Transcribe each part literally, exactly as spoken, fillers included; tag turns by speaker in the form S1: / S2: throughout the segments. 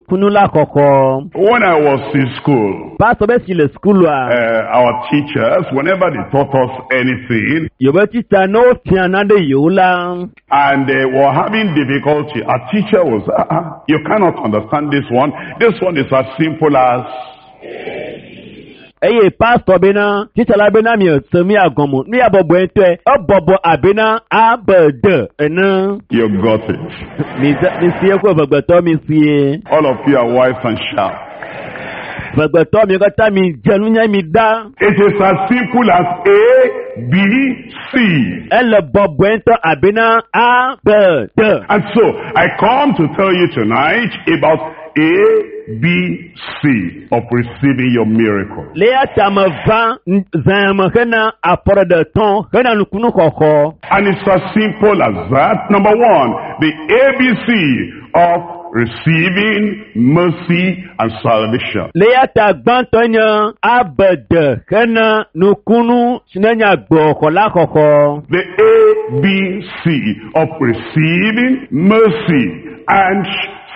S1: Nukunu la xɔxɔ.
S2: When I was in school,
S1: Pastor be si le sukulua.
S2: uh, our teachers, whenever they taught us anything,
S1: Yewobe titsa ne wofia nane yewo la.
S2: and they were having difficulty, our teacher was, uh, uh, you cannot understand this one. This one is as simple as,
S1: Eye pastor bena titsa la bena mi se mi agɔmɔ nu ya bɔbɔe ŋutɔe ebɔbɔ abena A B D ene.
S2: you got it.
S1: Mi se mi sie ko vegbetɔ mi sie.
S2: All of you are wise and sharp.
S1: Vegbetɔ mi katã mi dze nunya mi da.
S2: It is as simple as A, B, C.
S1: Ele bɔbɔe ŋutɔ abena A B D.
S2: And so, I come to tell you tonight about A, B, C of receiving your miracle.
S1: Le ya ta me va zãme hena afɔɖeɖetɔ hena nukunu xɔxɔ.
S2: And it's as simple as that. Number one, the ABC of receiving mercy and salvation.
S1: Le ya ta gbãtɔ nye A B D hena nukunu si ne nye agbexɔ la xɔxɔ.
S2: The A B C of receiving mercy and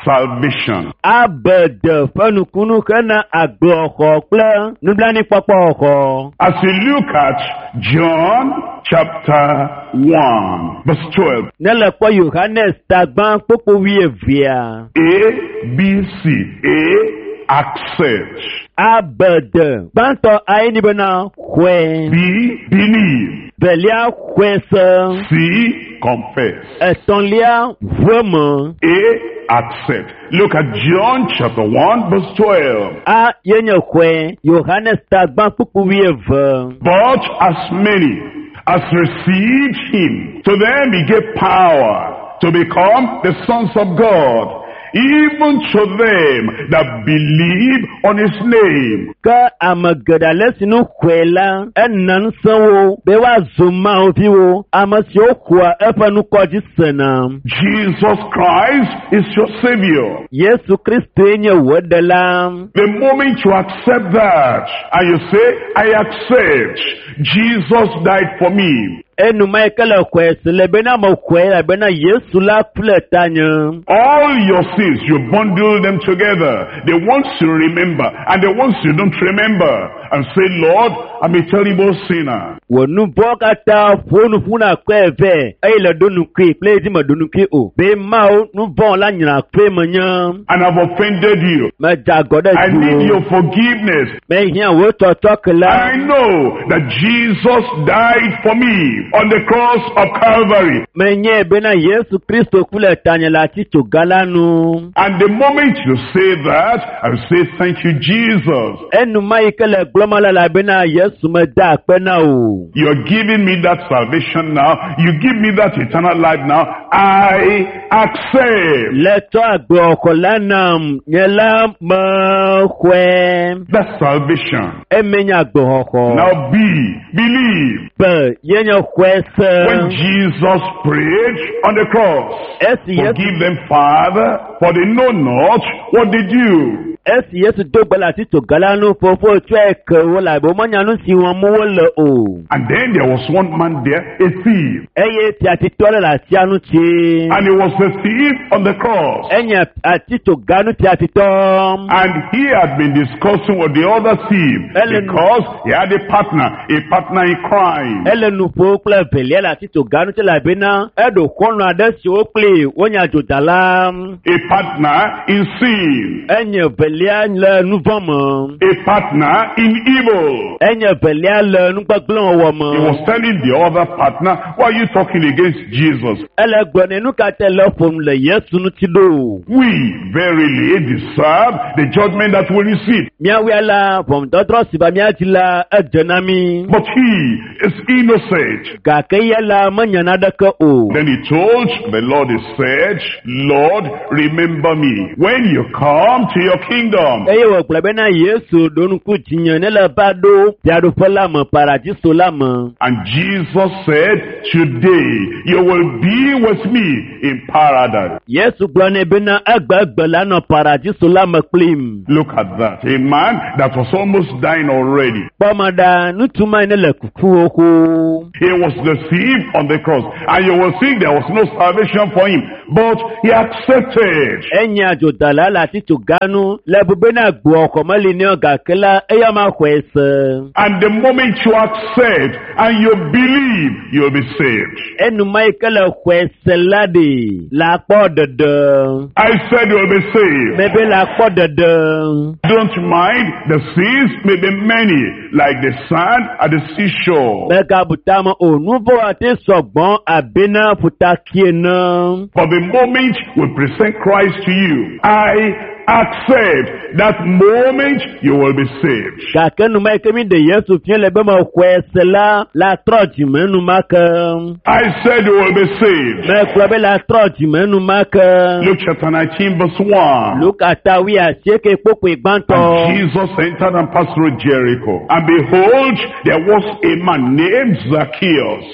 S2: salvation.
S1: A B D ƒe nukunu hena agbexɔ kple nublanuikpɔkpɔ xɔxɔ.
S2: As you look at John chapter one, verse twelve,
S1: Ne le kpɔ Yohanes ta gbã kpokpo wuievea.
S2: A, B, C, A, accept.
S1: A B D gbãtɔ ayi ni bena xɔe.
S2: B, believe.
S1: Velia xɔe se.
S2: C, confess.
S1: Etɔ̃lia ʋue me.
S2: A, accept. Look at John chapter one, verse twelve.
S1: A ye nye xɔe. Yohanes ta gbã kpokpo wuieve.
S2: But as many as received him, to them he gave power to become the sons of God, even to them that believe on his name.
S1: Ke ame geɖe ale si nu xɔe la, ena ŋusẽ wo be woazu Mawu viwo, ame siwo xɔa eƒe ŋkɔ dzi sena.
S2: Jesus Christ is your Savior.
S1: Yesu Kristoe nye wò ɖela.
S2: The moment you accept that, and you say, I accept, Jesus died for me.
S1: Enuma yi ke le xɔe si le bena me xɔe elabena Yesu la ku le tanye.
S2: All your sins, you bundle them together. The ones you remember and the ones you don't remember. And say, Lord, I'm a terrible sinner.
S1: Wò nu vɔ̃ katã ƒo nu ƒu na kɔe vɛ eye le ɖo nukui kple edzi me ɖo nukui o. Be Mawu nu vɔ̃ la nyra kple menye.
S2: And I've offended you.
S1: Medze agɔ ɖe
S2: I need
S1: dziwò.
S2: your forgiveness.
S1: Mehiã wò tsɔtsɔke la.
S2: I know that Jesus died for me on the cross of Calvary.
S1: Menye bena Yesu Kristo ku le tanye le atitsoga la nu.
S2: And the moment you say that, I say, thank you, Jesus.
S1: Enuma yi ke le gblɔm la elabena Yesu meda akpe na o.
S2: You're giving me that salvation now. You give me that eternal life now. I accept
S1: Le tsɔ agbexɔ la nam, nye la mexɔe.
S2: that salvation.
S1: Eme nye agbexɔxɔ.
S2: Now be, believe.
S1: Be ye nye xɔe se.
S2: When Jesus prayed on the cross,
S1: Esi Yesu
S2: forgive them, Father, for they know not what they do.
S1: esi Yesu do gbe le atitsoga la nu fofo tsɔe ke wo la be womenya nu si wɔm wole o.
S2: And then there was one man there, a thief.
S1: Eye fiatitɔ ɖe le atia ŋuti.
S2: And he was a thief on the cross.
S1: Enye atitsoga nu fiatitɔ.
S2: And he had been discussing with the other thief
S1: Ellen-
S2: because he had a partner, a partner in crime.
S1: Ele nu ƒom kple velia le atitsoga ŋuti elabena eɖo xɔlɔ̃ aɖe siwo kpli wonye adzodala.
S2: A partner in sin.
S1: Enye velia le nu vɔ̃ me.
S2: A partner in evil.
S1: Enye velia le nugbegblẽ wɔwɔ
S2: He
S1: me.
S2: was telling the other partner, why are you talking against Jesus?
S1: Ele gblɔ nɛ nu ka te le ƒom le Yesu ŋuti ɖo.
S2: We verily deserve the judgment that we receive.
S1: Míawoe la ʋɔnudɔdrɔ̃ si va mía dzi la edze na mí.
S2: But he is innocent.
S1: Gake ya la menya naneke o.
S2: Then he told the Lord, he said, Lord, remember me when you come to your kingdom. kingdom.
S1: Eye wògblɔ bena Yesu ɖo ŋku dzinye ne le va ɖo fiaɖuƒe la me, paradiso la me.
S2: And Jesus said, today you will be with me in paradise.
S1: Yesu gblɔ nɛ bena egbegbe la nɔ paradiso la me kplim.
S2: Look at that. A man that was almost dying already.
S1: Kpɔme ɖa, ŋutsu ma ne le kuku xoxo.
S2: He was the thief on the cross. And you will think there was no salvation for him. But he accepted.
S1: Enye adzodala le atitsoga nu le bu bena gbɔ xɔmeli ne gake la eya ma xɔe se.
S2: And the moment you accept and you believe, you'll be saved.
S1: Enuma yi ke le xɔe se la ɖe la kpɔ ɖeɖe.
S2: I said you'll be saved.
S1: Mebe la kpɔ ɖeɖe.
S2: Don't mind, the sins may be many, like the sand at the seashore.
S1: Megabu tame o, nu vɔ̃ ate sɔgbɔ abena ƒutakie ne.
S2: But the moment we present Christ to you, I accept that moment you will be saved.
S1: Gake numa yi ke mi ɖe Yesu fia le be mexɔe se la, la trɔ dzime enumake.
S2: I said you will be saved.
S1: Megblɔ be la trɔ dzime enumake.
S2: Luke chapter nineteen verse one.
S1: Luka ta wuiasieke kpokpoe gbãtɔ.
S2: And Jesus entered and passed through Jericho. And behold, there was a man named Zacchaeus,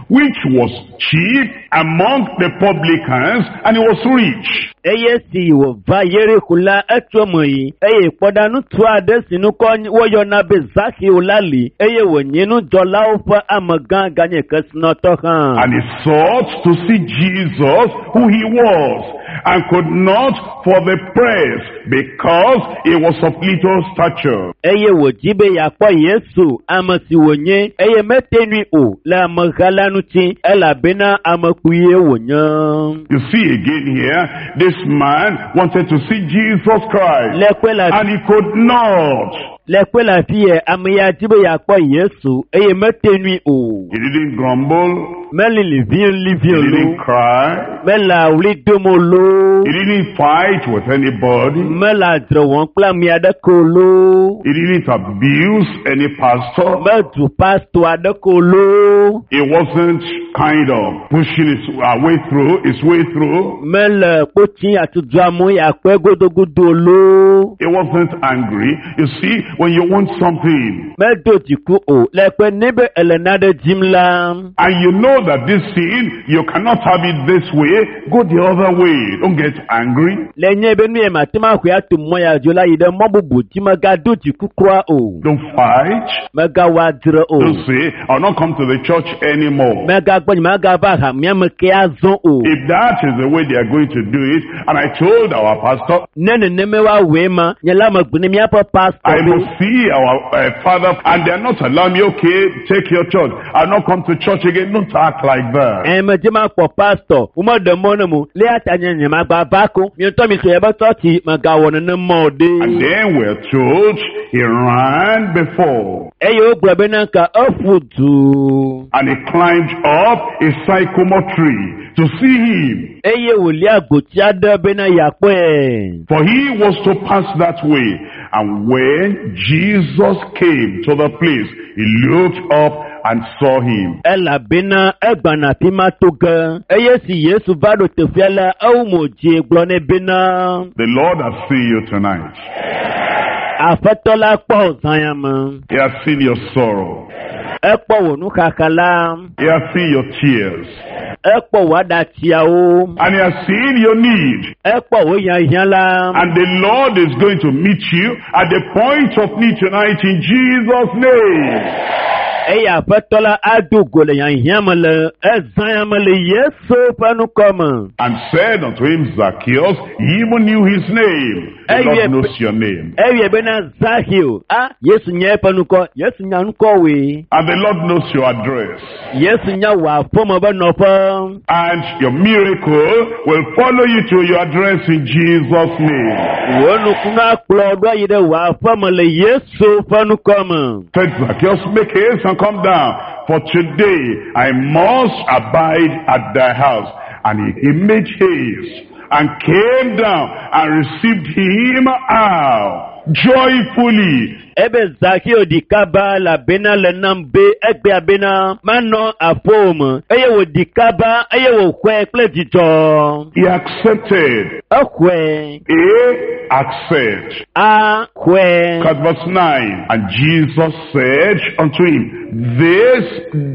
S2: which was chief among the publicans, and he was rich.
S1: Eye si wòva Yeriko la, etso eme yi eye kpɔɖa ŋutsu aɖe si ŋkɔ woyɔna be Zakeo la li eye wònye nudzɔlawo ƒe amegã ganye kesinɔtɔ hã.
S2: And he sought to see Jesus, who he was, and could not for the press, because he was of little stature.
S1: Eye wòdzi be yeakpɔ Yesu, ame si wònye, eye mete nui o le ameha la ŋuti elabena ame kpuie wònye.
S2: You see again here, this man wanted to see Jesus Christ,
S1: Le kpe la
S2: and he could not.
S1: le kpe le afi yɛ, ame ya di be yeakpɔ Yesu eye mete nui o.
S2: He didn't grumble.
S1: Meli livie livie
S2: He didn't
S1: lo.
S2: cry.
S1: Mele awli dom o lo.
S2: He didn't fight with anybody.
S1: Mele adzre wɔm kple ame aɖeke o lo.
S2: He didn't abuse any pastor.
S1: Medu pastɔ aɖeke o lo.
S2: He wasn't kind of pushing his uh, way through, his way through.
S1: Mele kpotsi atudu amewo yeakpɔe godogodo o lo.
S2: He wasn't angry. You see, when you want something,
S1: Medo dziku o. Le kpe ne be ele nane dzim la,
S2: and you know that this thing, you cannot have it this way, go the other way. Don't get angry.
S1: le nye be nu ye mate ŋu axɔe ato mɔ ya dzo la yi ɖe mɔ bubu dzi megado dziku kura o.
S2: Don't fight.
S1: Megawɔ adzre o.
S2: Don't say, I'll not come to the church anymore.
S1: Megagbɔ nye megava hamea me ke azɔ o.
S2: If that is the way they are going to do it, and I told our pastor,
S1: Ne nenema woawɔe ma, nye la megblɔ ne míaƒe pastor
S2: I
S1: be
S2: must see our uh, father, and they are not allowing me, okay, take your church. I'll not come to church again. Don't act like that.
S1: Ɛ medze makpɔ pastor, womeɖe mɔ ne mo, le ya ta nye nye magba va ko, mi ŋutɔ mi so yebe tsɔtsi megawɔ nenema o
S2: And
S1: ɖe.
S2: then we're told he ran before,
S1: Eye wogblɔ bena ka eƒu du
S2: and he climbed up a sycamore tree to see him,
S1: eye wòlia gboti aɖe bena yeakpɔe.
S2: for he was to pass that way. And when Jesus came to the place, he looked up and saw him.
S1: Elabena egbana afi ma to ge. Eye si Yesu va ɖo teƒea la, ewu mo dzi gblɔ nɛ bena
S2: The Lord has seen you tonight.
S1: Aƒetɔ la kpɔ wò zã ya me.
S2: He has seen your sorrow.
S1: Ekpɔ wò nuxaxa la.
S2: He has seen your tears.
S1: Ekpɔ wò aɖatsiawo.
S2: And he has seen your need.
S1: Ekpɔ wò hiahiã la.
S2: And the Lord is going to meet you at the point of need tonight in Jesus' name.
S1: Eye aƒetɔ la ado go le hiahiã me le ezã ya me le Yesu ƒe ŋkɔ me.
S2: And said unto him, Zacchaeus, he even knew his name. The
S1: Hey,
S2: Lord
S1: yeah,
S2: knows your name.
S1: Eye bena Zahio, a Yesu nya eƒe ŋkɔ, Yesu nya ŋkɔwoe.
S2: And the Lord knows your address.
S1: Yesu nya wò aƒeme be nɔƒe.
S2: And your miracle will follow you to your address in Jesus' name.
S1: Wò nukunu akplɔ ɖo ayi ɖe wò aƒeme le Yesu ƒe ŋkɔ me.
S2: Said Zacchaeus, make haste and come down, for today I must abide at thy house. And he, he made haste and came down and received him out joyfully.
S1: Ebe Zakeo ɖi kaba elabena le nam be egbea bena manɔ aƒewò me eye wòɖi kaba eye wòxɔe kple dzidzɔ.
S2: He accepted.
S1: Exɔe.
S2: A, accept.
S1: A xɔe.
S2: At verse nine. And Jesus said unto him, This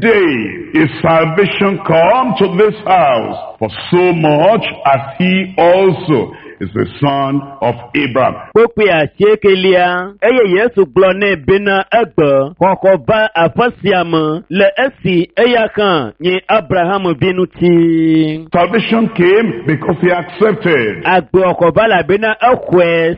S2: day is salvation come to this house, for so much as he also is the son of Abraham.
S1: Kpukpui asiekelia eye Yesu gblɔ nɛ bena egbe xɔxɔ va aƒe sia me le esi eya hã nye Abraham vi ŋuti.
S2: Salvation came because he accepted.
S1: Agbexɔ va elabena exɔe.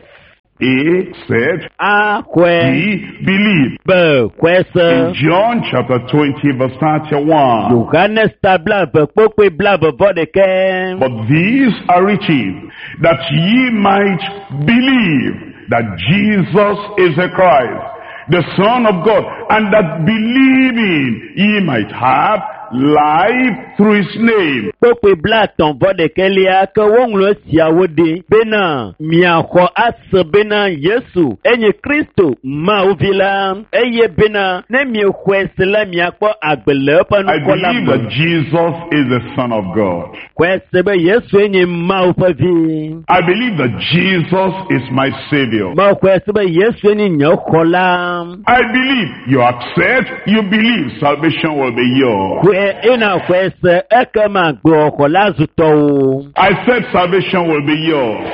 S2: A said,
S1: A xɔe.
S2: B believed.
S1: B xɔe se.
S2: In John chapter twenty verse thirty-one.
S1: Yohanes ta blaeve kpukpui blaeve vɔ ɖekɛ.
S2: But these are written that ye might believe that Jesus is the Christ, the Son of God, and that believing ye might have life through his name.
S1: Kpukpui blaetɔ̃ vɔ ɖekɛlia ke woŋlɔ esiawo ɖi bena miaxɔ ase bena Yesu enye Kristo Mawu vi la eye bena ne miexɔe se la miakpɔ agbe le eƒe
S2: I
S1: ŋkɔ la
S2: believe
S1: me.
S2: that Jesus is the Son of God.
S1: Xɔe se be Yesu enye Mawu ƒe vi.
S2: I believe that Jesus is my Savior.
S1: Mexɔe se be Yesu enye nye xɔla.
S2: I believe you accept, you believe salvation will be yours.
S1: Xɔe ena xɔe se ekema agbexɔ la zu tɔwò.
S2: I said salvation will be yours.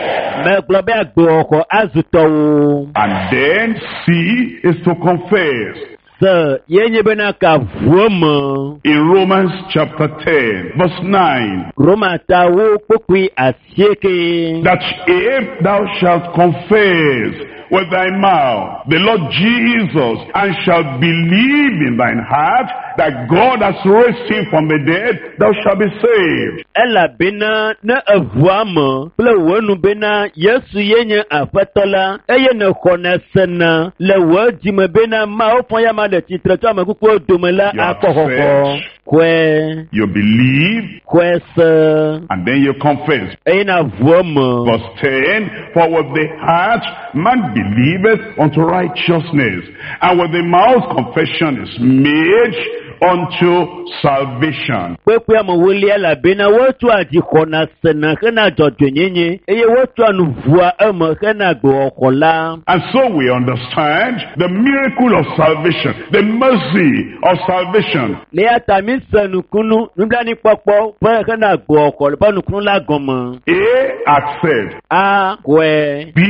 S1: Megblɔ be agbexɔ azu tɔwò.
S2: And then C is to confess.
S1: Se ye nye bena ka ʋu eme.
S2: In Romans chapter ten, verse nine,
S1: Roma ta wo kpukpui asieke.
S2: that if thou shalt confess with thy mouth the Lord Jesus, and shalt believe in thine heart that God has raised him from the dead, thou shalt be saved.
S1: Elabena ne eʋua me kple wò nu bena Yesu ye nye Aƒetɔ la, eye nèxɔnɛ sena le wò dzime bena Mawu fɔ ya ma ɖe tsitre tso ame kukuwo dome la
S2: You
S1: akpɔ xɔxɔ.
S2: accept.
S1: Xɔe.
S2: You believe,
S1: Xɔe se.
S2: and then you confess.
S1: Eye na ʋua me.
S2: Verse ten, for with the heart man believeth unto righteousness, and with the mouth confession is made unto salvation.
S1: Kpekpe amewolia elabena wotsɔa dzi xɔna sena hena dzɔdzɔenyenye eye wotsɔa nu ʋua eme hena agbexɔxɔ la.
S2: And so we understand the miracle of salvation, the mercy of salvation.
S1: Le ya ta mi se nukunu nublanuikpɔkpɔ ƒe hena agbexɔxɔ ƒe nukunu la gɔme.
S2: A, accept.
S1: A xɔe.
S2: B,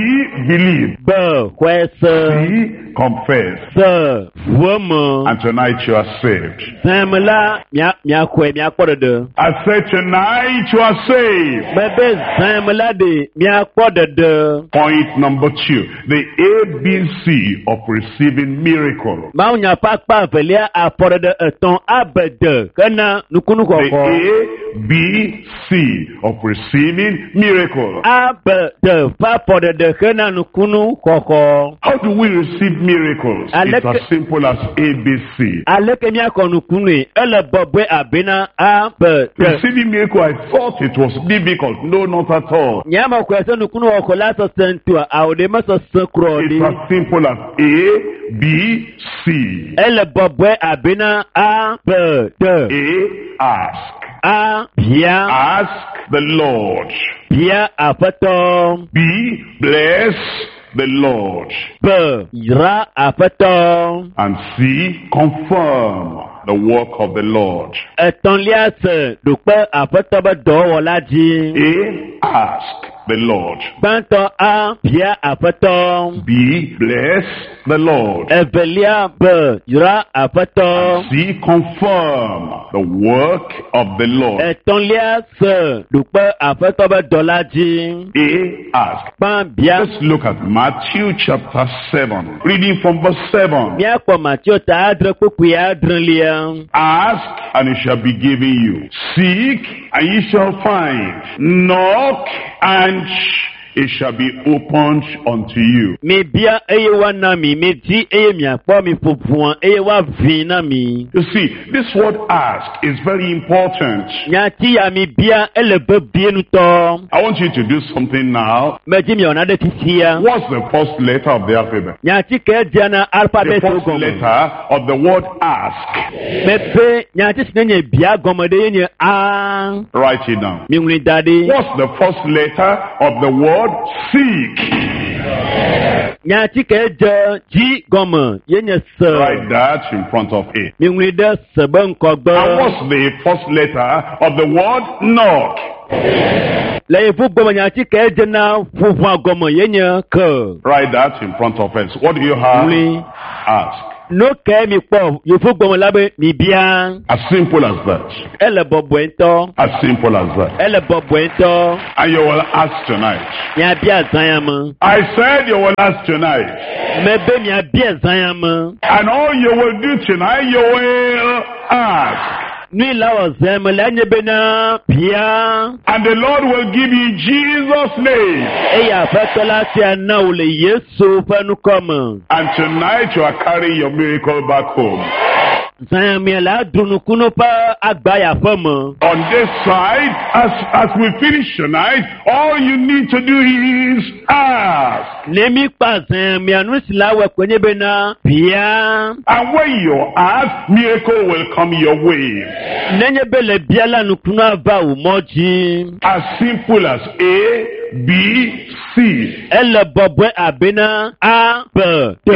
S2: believe.
S1: B xɔe se.
S2: C, confess.
S1: C ʋu eme.
S2: And tonight you are saved.
S1: Zãme la mia miaxɔe miakpɔ ɖeɖe.
S2: I said tonight you are saved.
S1: Mebe zãme la ɖe miakpɔ ɖeɖe.
S2: Point number two, the A B C of receiving miracle.
S1: Mawunya ƒe akpa evelia afɔɖeɖe etɔ̃ abede hena nukunu
S2: The
S1: xɔxɔ.
S2: A B C of receiving miracle.
S1: Abede ƒe afɔɖeɖe hena nukunu xɔxɔ.
S2: How do we receive miracles?
S1: Aleke-
S2: It's as simple as A B C.
S1: Aleke miakɔ nukunui? Ele bɔbɔe abena A B D.
S2: Receiving miracle, I thought it was difficult. No, not at all.
S1: Nye ame xɔe se nukunu xɔxɔ la sesẽ ŋutɔa, awo ɖe mesesẽ kura o
S2: It's
S1: ɖi.
S2: as simple as A B C.
S1: Ele bɔbɔe abena A B D.
S2: A, ask.
S1: A bia
S2: Ask the Lord.
S1: bia Aƒetɔ.
S2: B, bless the Lord.
S1: B yra Aƒetɔ.
S2: And C, confirm the work of the Lord.
S1: Etɔ̃lia se ɖokpe Aƒetɔ be dɔwɔla dzi.
S2: A, ask the Lord.
S1: Gbãtɔ A bia Aƒetɔ.
S2: B, bless the Lord.
S1: Evelia B yra Aƒetɔ.
S2: And C, confirm the work of the Lord.
S1: Etɔ̃lia se ɖokpe Aƒetɔ be dɔla dzi.
S2: A, ask.
S1: Gbã bia.
S2: Let's look at Matthew chapter seven, reading from verse seven.
S1: Míakpɔ Mateo ta adre kpukpui adrelia.
S2: Ask, and it shall be given you. Seek, and ye shall find. Knock, and it shall be opened unto you.
S1: Mi bia eye woana mi, mi di eye miakpɔ, mi ƒo ʋua eye woaʋui na mi.
S2: You see, this word ask is very important.
S1: Nyati ya mi bia ele vevie ŋutɔ.
S2: I want you to do something now.
S1: Medzi miawɔ nane fifia.
S2: What's the first letter of the alphabet?
S1: Nyati ke dzea na
S2: The
S1: alphabet
S2: first
S1: gɔme.
S2: letter of the word ask.
S1: Mebe nyati si ne nye bia gɔme ɖe ye nye A.
S2: Write it down.
S1: Mi ŋlɔe da ɖi.
S2: What's the first letter of the word seek?
S1: Nyati ke dze dzi gɔme ye nye se.
S2: Write that in front of it.
S1: Mi ŋlɔe ɖe se be ŋkɔgbe.
S2: And what's the first letter of the word knock?
S1: Le yevu gɔme nyati ke dze na ƒoʋua gɔme ye nye ke.
S2: Write that in front of us. What do you have?
S1: Ŋlɔe.
S2: Ask.
S1: Nu ke mi kpɔ yevu gɔme la be mi bia.
S2: As simple as that.
S1: Ele bɔbɔe ŋutɔ.
S2: As simple as that.
S1: Ele bɔbɔe ŋutɔ.
S2: And you will ask tonight.
S1: Miabia zã ya me.
S2: I said you will ask tonight.
S1: Mebe miabia zã ya me.
S2: And all you will do tonight, you will ask.
S1: Nui la wɔ zã ya me la nye bena bia.
S2: And the Lord will give you in Jesus' name.
S1: Eye aƒetɔ la sia na wò le Yesu ƒe ŋkɔ me.
S2: And tonight you are carrying your miracle back home.
S1: Zã ya me la ɖu nukunu ƒe agba ya ƒe me.
S2: On this side, as, as we finish tonight, all you need to do is ask.
S1: Ne mi kpa zã ya mea nu si la wɔ koe nye bena bia.
S2: And when you ask, miracle will come your way.
S1: Nenye be le bia la nukunu ava wò mɔ dzi.
S2: As simple as A, B, C.
S1: Ele bɔbɔe abena A, B, T.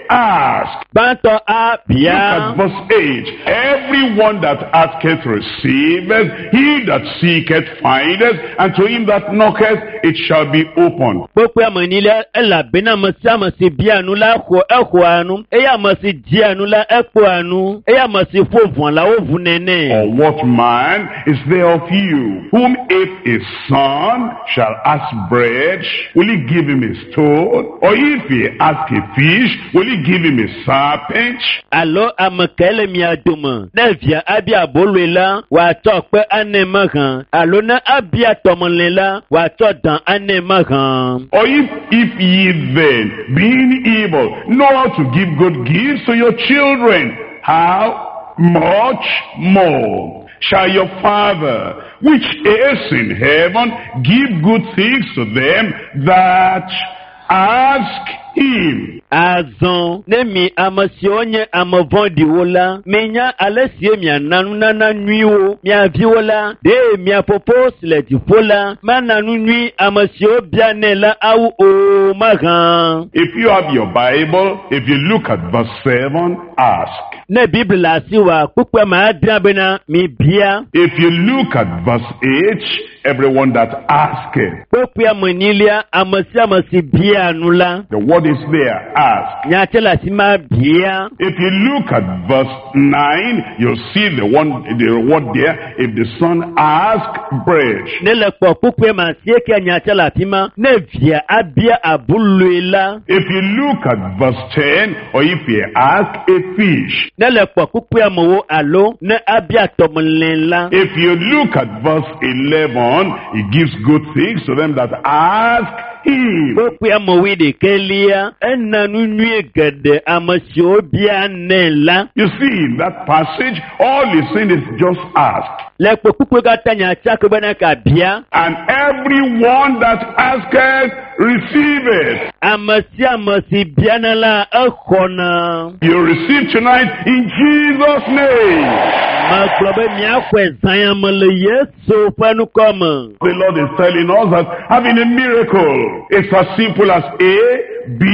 S2: A, ask.
S1: Gbãtɔ A
S2: Look
S1: bia.
S2: at verse eight. Everyone that asketh receiveth, he that seeketh findeth, and to him that knocketh it shall be opened.
S1: Kpokpoe ame enyi la elabena ame sia ame si bia nu la xɔ exɔa nu eye ame si dzia nu la ekpɔa nu eye ame si ƒo ʋɔ la woʋu nɛ.
S2: Or what man is there of you, whom if his son shall ask bread, will he give him a stone? Or if he ask a fish, will he give him a serpent?
S1: Alo ame kae le mia dome ne via abia aboloe la wòatsɔ kpe anɛ mahã alo ne abia tɔmelĩ la wòatsɔ dan anɛ mahã.
S2: Or if, if ye then, being evil, know how to give good gifts to your children, how much more shall your Father, which is in heaven, give good things to them that ask him?
S1: Azɔ ne mi ame siwo nye ame vɔ̃ɖiwo la, minya ale si miana nunana nyuiwo mia viwo la, ɖe mia fofo si le dziƒo la mana nu nyui ame siwo bianɛ la awu o mahã.
S2: If you have your Bible, if you look at verse seven, ask.
S1: Ne Biblia le asiwòa, kpukpui ame adrea bena mi bia.
S2: If you look at verse eight, everyone that asketh,
S1: Kpukpui ame enyilia, ame sia ame si bia nu la,
S2: the word is there, ask.
S1: nyati le afi ma bia.
S2: If you look at verse nine, you'll see the one, the word there, if the son ask bread.
S1: Ne le kpɔ kpukpui ame asiekea nyati le afi ma, ne via abia aboloe la.
S2: If you look at verse ten, or if he ask a fish.
S1: Ne le kpɔ kpukpui amewo alo ne abia tɔmelĩ la.
S2: If you look at verse eleven, he gives good things to them that ask him.
S1: Kpukpui amewoe ɖekɛlia, ena nu nyui geɖe ame siwo bia nɛ la.
S2: You see, in that passage, all he's saying is just ask.
S1: Le kpɔ kpukpui katã nyatsia ke bena ka bia.
S2: And everyone that asketh, receiveth.
S1: Ame sia ame si biana la, exɔna.
S2: You receive tonight in Jesus' name.
S1: Megblɔ be miaxɔe zã ya me le Yesu ƒe ŋkɔ me.
S2: The Lord is telling us that having a miracle is as simple as A, B,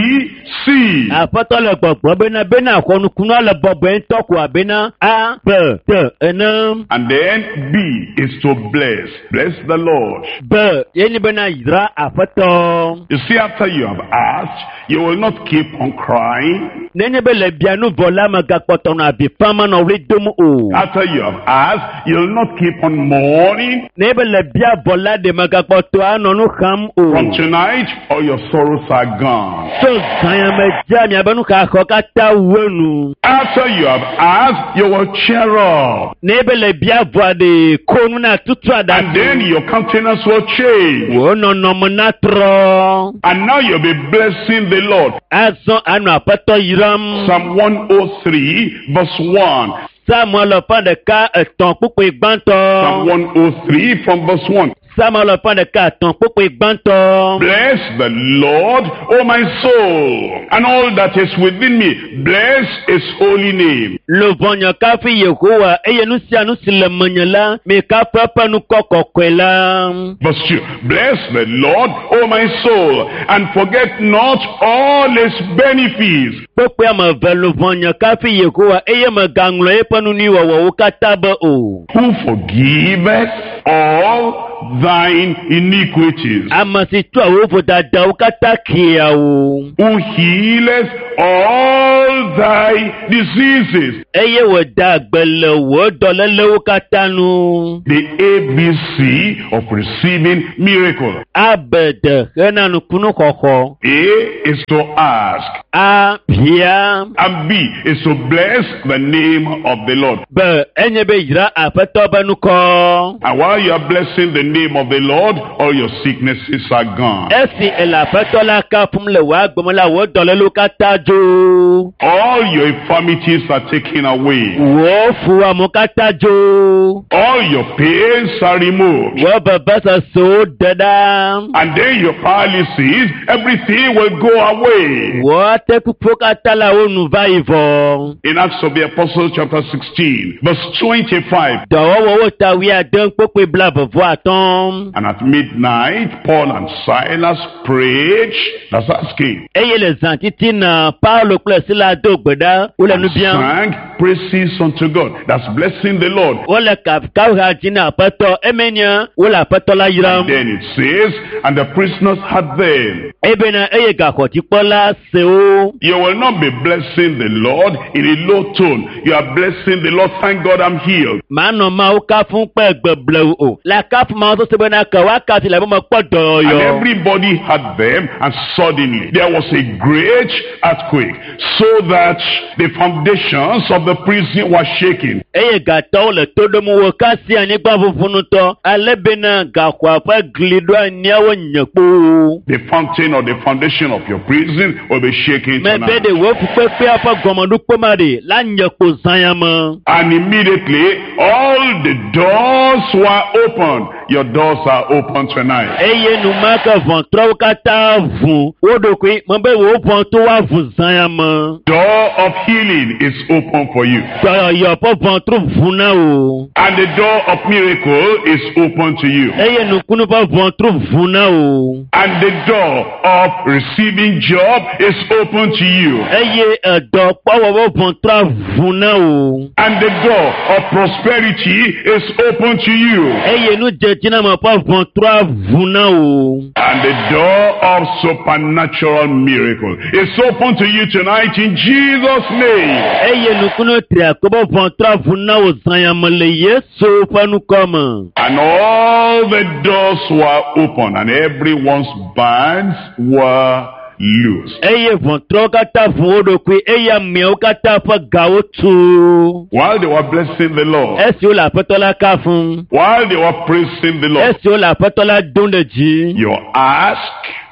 S2: C.
S1: Aƒetɔ le gbɔgblɔ bena bena xɔ nukunua le bɔbɔe ŋutɔ ko abena A, B, T ene.
S2: And then B is to bless. Bless the Lord.
S1: B ye nye bena yra aƒetɔ.
S2: You see, after you have asked, you will not keep on crying.
S1: Nenye be le bia nu vɔ la megakpɔtɔ nɔ avi fam anɔ ɣli dom o.
S2: After you have asked, you'll not keep on mourning.
S1: Nenye be le bia vɔ la ɖe megakpɔtɔ anɔ nu xam o.
S2: From tonight, all your sorrows are gone.
S1: Tso zã Zã me dzia miabe nuxaxɔ katã wu enu.
S2: After you have asked, you will cheer up.
S1: Ne ebe le bia vɔa ɖe ko nu na tutu
S2: And then
S1: aɖa.
S2: your countenance will change.
S1: Wò nɔnɔme na trɔ.
S2: And now you'll be blessing the Lord.
S1: Azɔ anɔ aƒetɔ yram.
S2: Psalm one oh three verse one.
S1: Samuel ƒe ɖeka etɔ̃ kpukpui gbãtɔ.
S2: Psalm one oh three from verse one.
S1: Samuel ƒe ɖeka etɔ̃ kpukpui gbãtɔ.
S2: Bless the Lord, O my soul, and all that is within me. Bless his holy name.
S1: Luʋɔnye kafu Yehowa eye nu sia nu si le menye la, mikafu eƒe ŋkɔ kɔkɔe la.
S2: Verse two. Bless the Lord, O my soul, and forget not all his benefits.
S1: Kpukpui ame eve luʋɔnye kafu Yehowa eye megaŋlɔ eƒe nu nyui wɔwɔwo katã be o.
S2: Who forgiveth all thine iniquities.
S1: Ame si tsɔa wò vodadawo katã kea wò.
S2: Who healeth all thy diseases.
S1: Eye wòda gbe le wò dɔlélewo katã nu.
S2: The A B C of receiving miracle.
S1: Abede hena nukunu xɔxɔ.
S2: A is to ask.
S1: A bia.
S2: And B is to bless the name of the Lord.
S1: B enye be yra aƒetɔ be ŋkɔ.
S2: And while you are blessing the name of the Lord, all your sicknesses are gone.
S1: Esi ele aƒetɔ la kafum le wò agbeme la, wò dɔlélewo katã dzo.
S2: All your infirmities are taken away.
S1: Wò fuwɔamewo katã dzo.
S2: All your pains are removed.
S1: Wò vevesesewo ɖe ɖa.
S2: And then your paralysis, everything will go away.
S1: Wò atekpukpuwo katã la wo nu va yi vɔ.
S2: In Acts of the Apostles chapter sixteen, verse twenty-five.
S1: Dɔwɔwɔwo ta wuiade kpukpui blaeve vɔ atɔ̃.
S2: And at midnight, Paul and Silas prayed. That's asking.
S1: Eye le zã titina Paulo kple Sila do gbe ɖa wole nu
S2: And
S1: biam.
S2: sang praises unto God. That's blessing the Lord.
S1: Wole kafukafuha dzi na aƒetɔ eme nye wole aƒetɔ la yram.
S2: And then it says, and the prisoners heard them.
S1: Ebena eye gaxɔdzikpɔla se wo.
S2: You will not be blessing the Lord in a low tone. You are blessing the Lord. Thank God I'm healed.
S1: Manɔ Mawu kafum kple gbe blewu o. Le kafu Mawu sese bena ke woakasi le be mekpɔ
S2: And
S1: dɔyɔyɔ.
S2: everybody heard them, and suddenly there was a great earthquake, so that the foundations of the prison were shaken.
S1: Eye gatɔwo le to ɖom wo kasi anyigba ʋuʋu ŋutɔ ale bena gaxɔa ƒe gli ɖo anyiawo nye kpoo.
S2: The fountain or the foundation of your prison will be shaken
S1: Mebe
S2: tonight.
S1: ɖe wò fukpekpea ƒe gɔmeɖokpe ma ɖe la nye kpo zã me.
S2: And immediately all the doors were opened. Your doors are open tonight.
S1: Eye enumake ʋɔtruawo katã ʋu wo ɖokui mebe wò ʋɔtru woaʋu zã me.
S2: Door of healing is open for you.
S1: Dɔyɔyɔ ƒe ʋɔtru ʋu na wò.
S2: And the door of miracle is open to you.
S1: Eye nukunu ƒe ʋɔtru ʋu na wò.
S2: And the door of receiving job is open to you.
S1: Eye edɔkpɔwɔ ƒe ʋɔtrua ʋu na wò.
S2: And the door of prosperity is open to you.
S1: Eye nudzedziname ƒe ʋɔtrua ʋu na wò.
S2: And the door of supernatural miracle is open to you tonight in Jesus' name.
S1: Eye nukunu triako ƒe ʋɔtrua ʋu na wò zãyame le Yesu ƒe ŋkɔ me.
S2: And all the doors were open and everyone's bands were loose.
S1: Eye ʋɔtruawo katã ʋu wo ɖokui eye ameawo katã ƒe gawo tu.
S2: While they were blessing the Lord,
S1: Esi wole aƒetɔ la kafum.
S2: while they were praising the Lord,
S1: Esi wole aƒetɔ la dom ɖe dzi.
S2: you ask,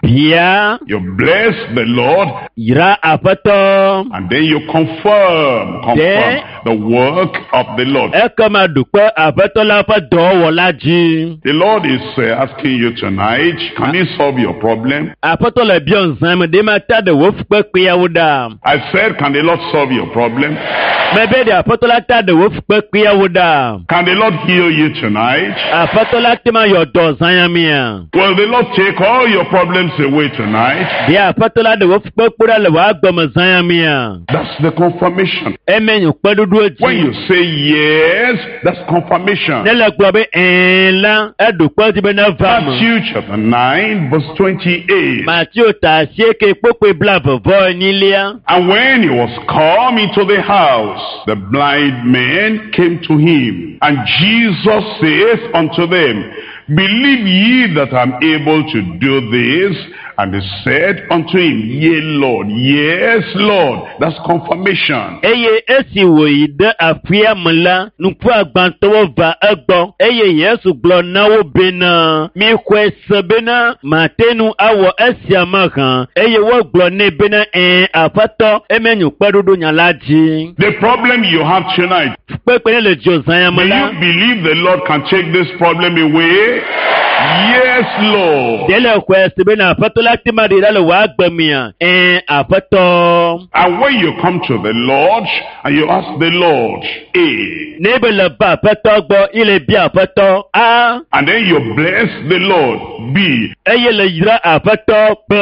S1: Bia.
S2: you bless the Lord,
S1: Yra aƒetɔ.
S2: and then you confirm, confirm
S1: Then-
S2: the work of the Lord.
S1: Ekema ɖu kpe aƒetɔ la ƒe dɔwɔwɔ dzi.
S2: The Lord is uh, asking you tonight, can he solve your problem?
S1: Aƒetɔ le biɔ zã me ɖe ma ta ɖe wò fukpekpeawo ɖa.
S2: I said, can the Lord solve your problem?
S1: Mebe ɖe aƒetɔ la ta ɖe wò fukpekpeawo ɖa.
S2: Can the Lord heal you tonight?
S1: Aƒetɔ la te ma yɔ dɔ zã ya mia.
S2: Will the Lord take all your problems away tonight?
S1: Ɖe aƒetɔ la ɖe wò fukpekpe ɖa le wò agbeme zã ya mia.
S2: That's the confirmation.
S1: Eme nye kpeɖoɖo
S2: When
S1: dzi.
S2: you say yes, that's confirmation.
S1: Ne le gblɔ be ɛ̃ la, eɖo kpe dzi be neva me.
S2: Matthew chapter nine, verse twenty-eight.
S1: Mateo ta asieke kpukpui blaeve vɔ enyilia.
S2: And when he was come into the house, the blind men came to him. And Jesus saith unto them, Believe ye that I am able to do this? And they said unto him, Yea, Lord, yes, Lord. That's confirmation.
S1: Eye esi wòyi ɖe aƒea me la, ŋkuagbãtɔwo va egbɔ eye Yesu gblɔ na wo bena, mixɔe se bena mate ŋu awɔ esia mahã. Eye wogblɔ nɛ bena, ɛ̃ Aƒetɔ, eme nye kpeɖoɖo nya la dzi.
S2: The problem you have tonight,
S1: Kpekpe ne le dziwò zã ya
S2: do
S1: me la,
S2: you believe the Lord can take this problem away? Yes, Lord.
S1: ɖe le xɔe se bena Aƒetɔ la te ma ɖe ɖa le wò agbe mea? Ɛ̃ Aƒetɔ.
S2: And when you come to the Lord and you ask the Lord, A,
S1: Ne be le va Aƒetɔ gbɔ, ye le bia Aƒetɔ A,
S2: and then you bless the Lord, B,
S1: eye le yra Aƒetɔ B.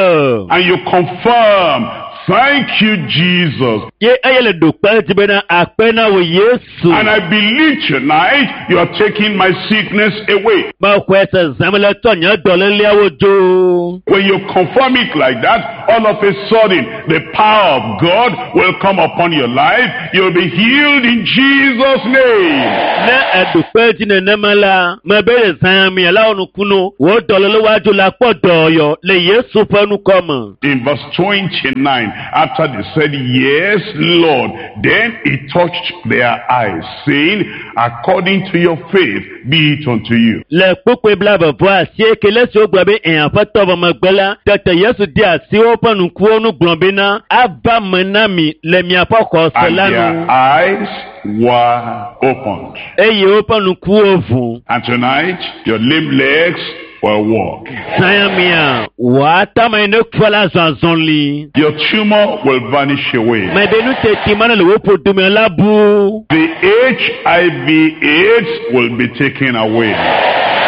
S2: and you confirm, thank you, Jesus.
S1: Ye eye le ɖo kpe edzi bena akpe na wò Yesu.
S2: And I believe tonight you are taking my sickness away.
S1: Mexɔe se zã me le tsɔ nye dɔléleawo dzo.
S2: When you confirm it like that, all of a sudden, the power of God will come upon your life. You'll be healed in Jesus' name.
S1: Ne eɖo kpe edzi nenema la, mebe le zã mia la wɔ nukunu, wò dɔléle woadzo le akpɔ dɔyɔ le Yesu ƒe ŋkɔ me.
S2: In verse twenty-nine, after they said, Yes, Lord, then he touched their eyes, saying, According to your faith, be it unto you.
S1: Le kpukpui blaeve vɔ asieke le esi wogblɔ be ɛ̃ Aƒetɔ vɔ megbe la, tete Yesu de asi woƒe ŋkuwo nu gblɔ bena, ava me na mi le miaƒe xɔse
S2: And
S1: la
S2: their
S1: nu.
S2: eyes were opened.
S1: Eye woƒe ŋkuwo ʋu.
S2: And tonight, your lame legs will walk.
S1: Zã ya mea, wò atama yi ne kua la zɔ azɔli.
S2: Your tumor will vanish away.
S1: Mebe nu teti ma ne le wò ƒodome la bu.
S2: The H I V AIDS will be taken away.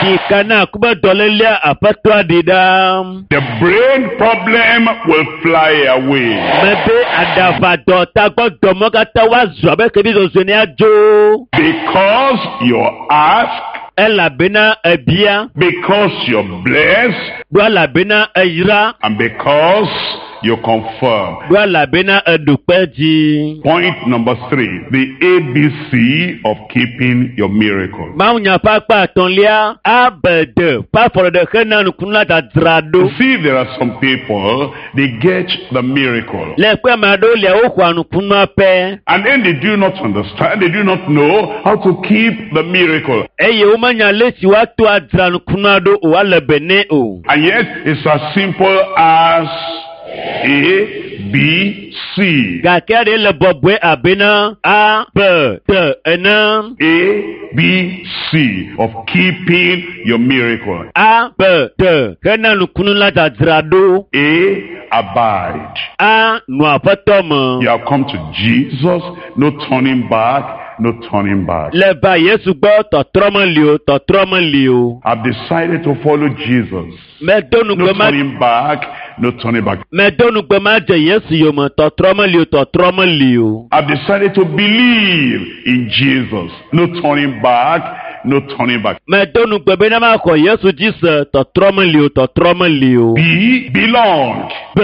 S1: Ɖika na kube dɔlélea Aƒetɔa ɖi ɖa.
S2: The brain problem will fly away.
S1: Mebe aɖaʋadɔ tagbɔdɔmɔ katã woazɔ abe xevi zozoe ne adzo.
S2: Because you ask,
S1: Elabena ebia,
S2: because you're blessed,
S1: ɖo elabena eyra,
S2: and because you confirm.
S1: Ɖo elabena eɖo kpe dzi.
S2: Point number three, the A B C of keeping your miracle.
S1: Mawunya ƒe akpa etɔ̃lia, A B D ƒe afɔɖeɖe hena nukunu la dzadzra ɖo.
S2: You see, there are some people, they get the miracle.
S1: Le kpe ame aɖewo lia woxɔa nukunua pɛ.
S2: And then they do not understand, they do not know how to keep the miracle.
S1: Eye womenya le si woato adzra nukunua ɖo o ale be nɛ o.
S2: And yet, it's as simple as A, B, C.
S1: Gake ɖe le bɔbɔe abena A, B, D ene.
S2: A, B, C of keeping your miracle.
S1: A, B, D hena nukunu la dzadzra ɖo.
S2: A, abide.
S1: A, nɔ Aƒetɔ me.
S2: You have come to Jesus, no turning back, no turning back.
S1: Le va Yesu gbɔ tɔtrɔ meli o, tɔtrɔ meli o.
S2: I've decided to follow Jesus.
S1: Medo
S2: No
S1: nugbe ma
S2: turning back, no turning back.
S1: Medo nugbe ma dze Yesu yome, tɔtrɔ meli o, tɔtrɔ meli o.
S2: I've decided to believe in Jesus. No turning back, no turning back.
S1: Medo nugbe bena maxɔ Yesu dzi se, tɔtrɔ meli o, tɔtrɔ meli o.
S2: B, belong.
S1: B,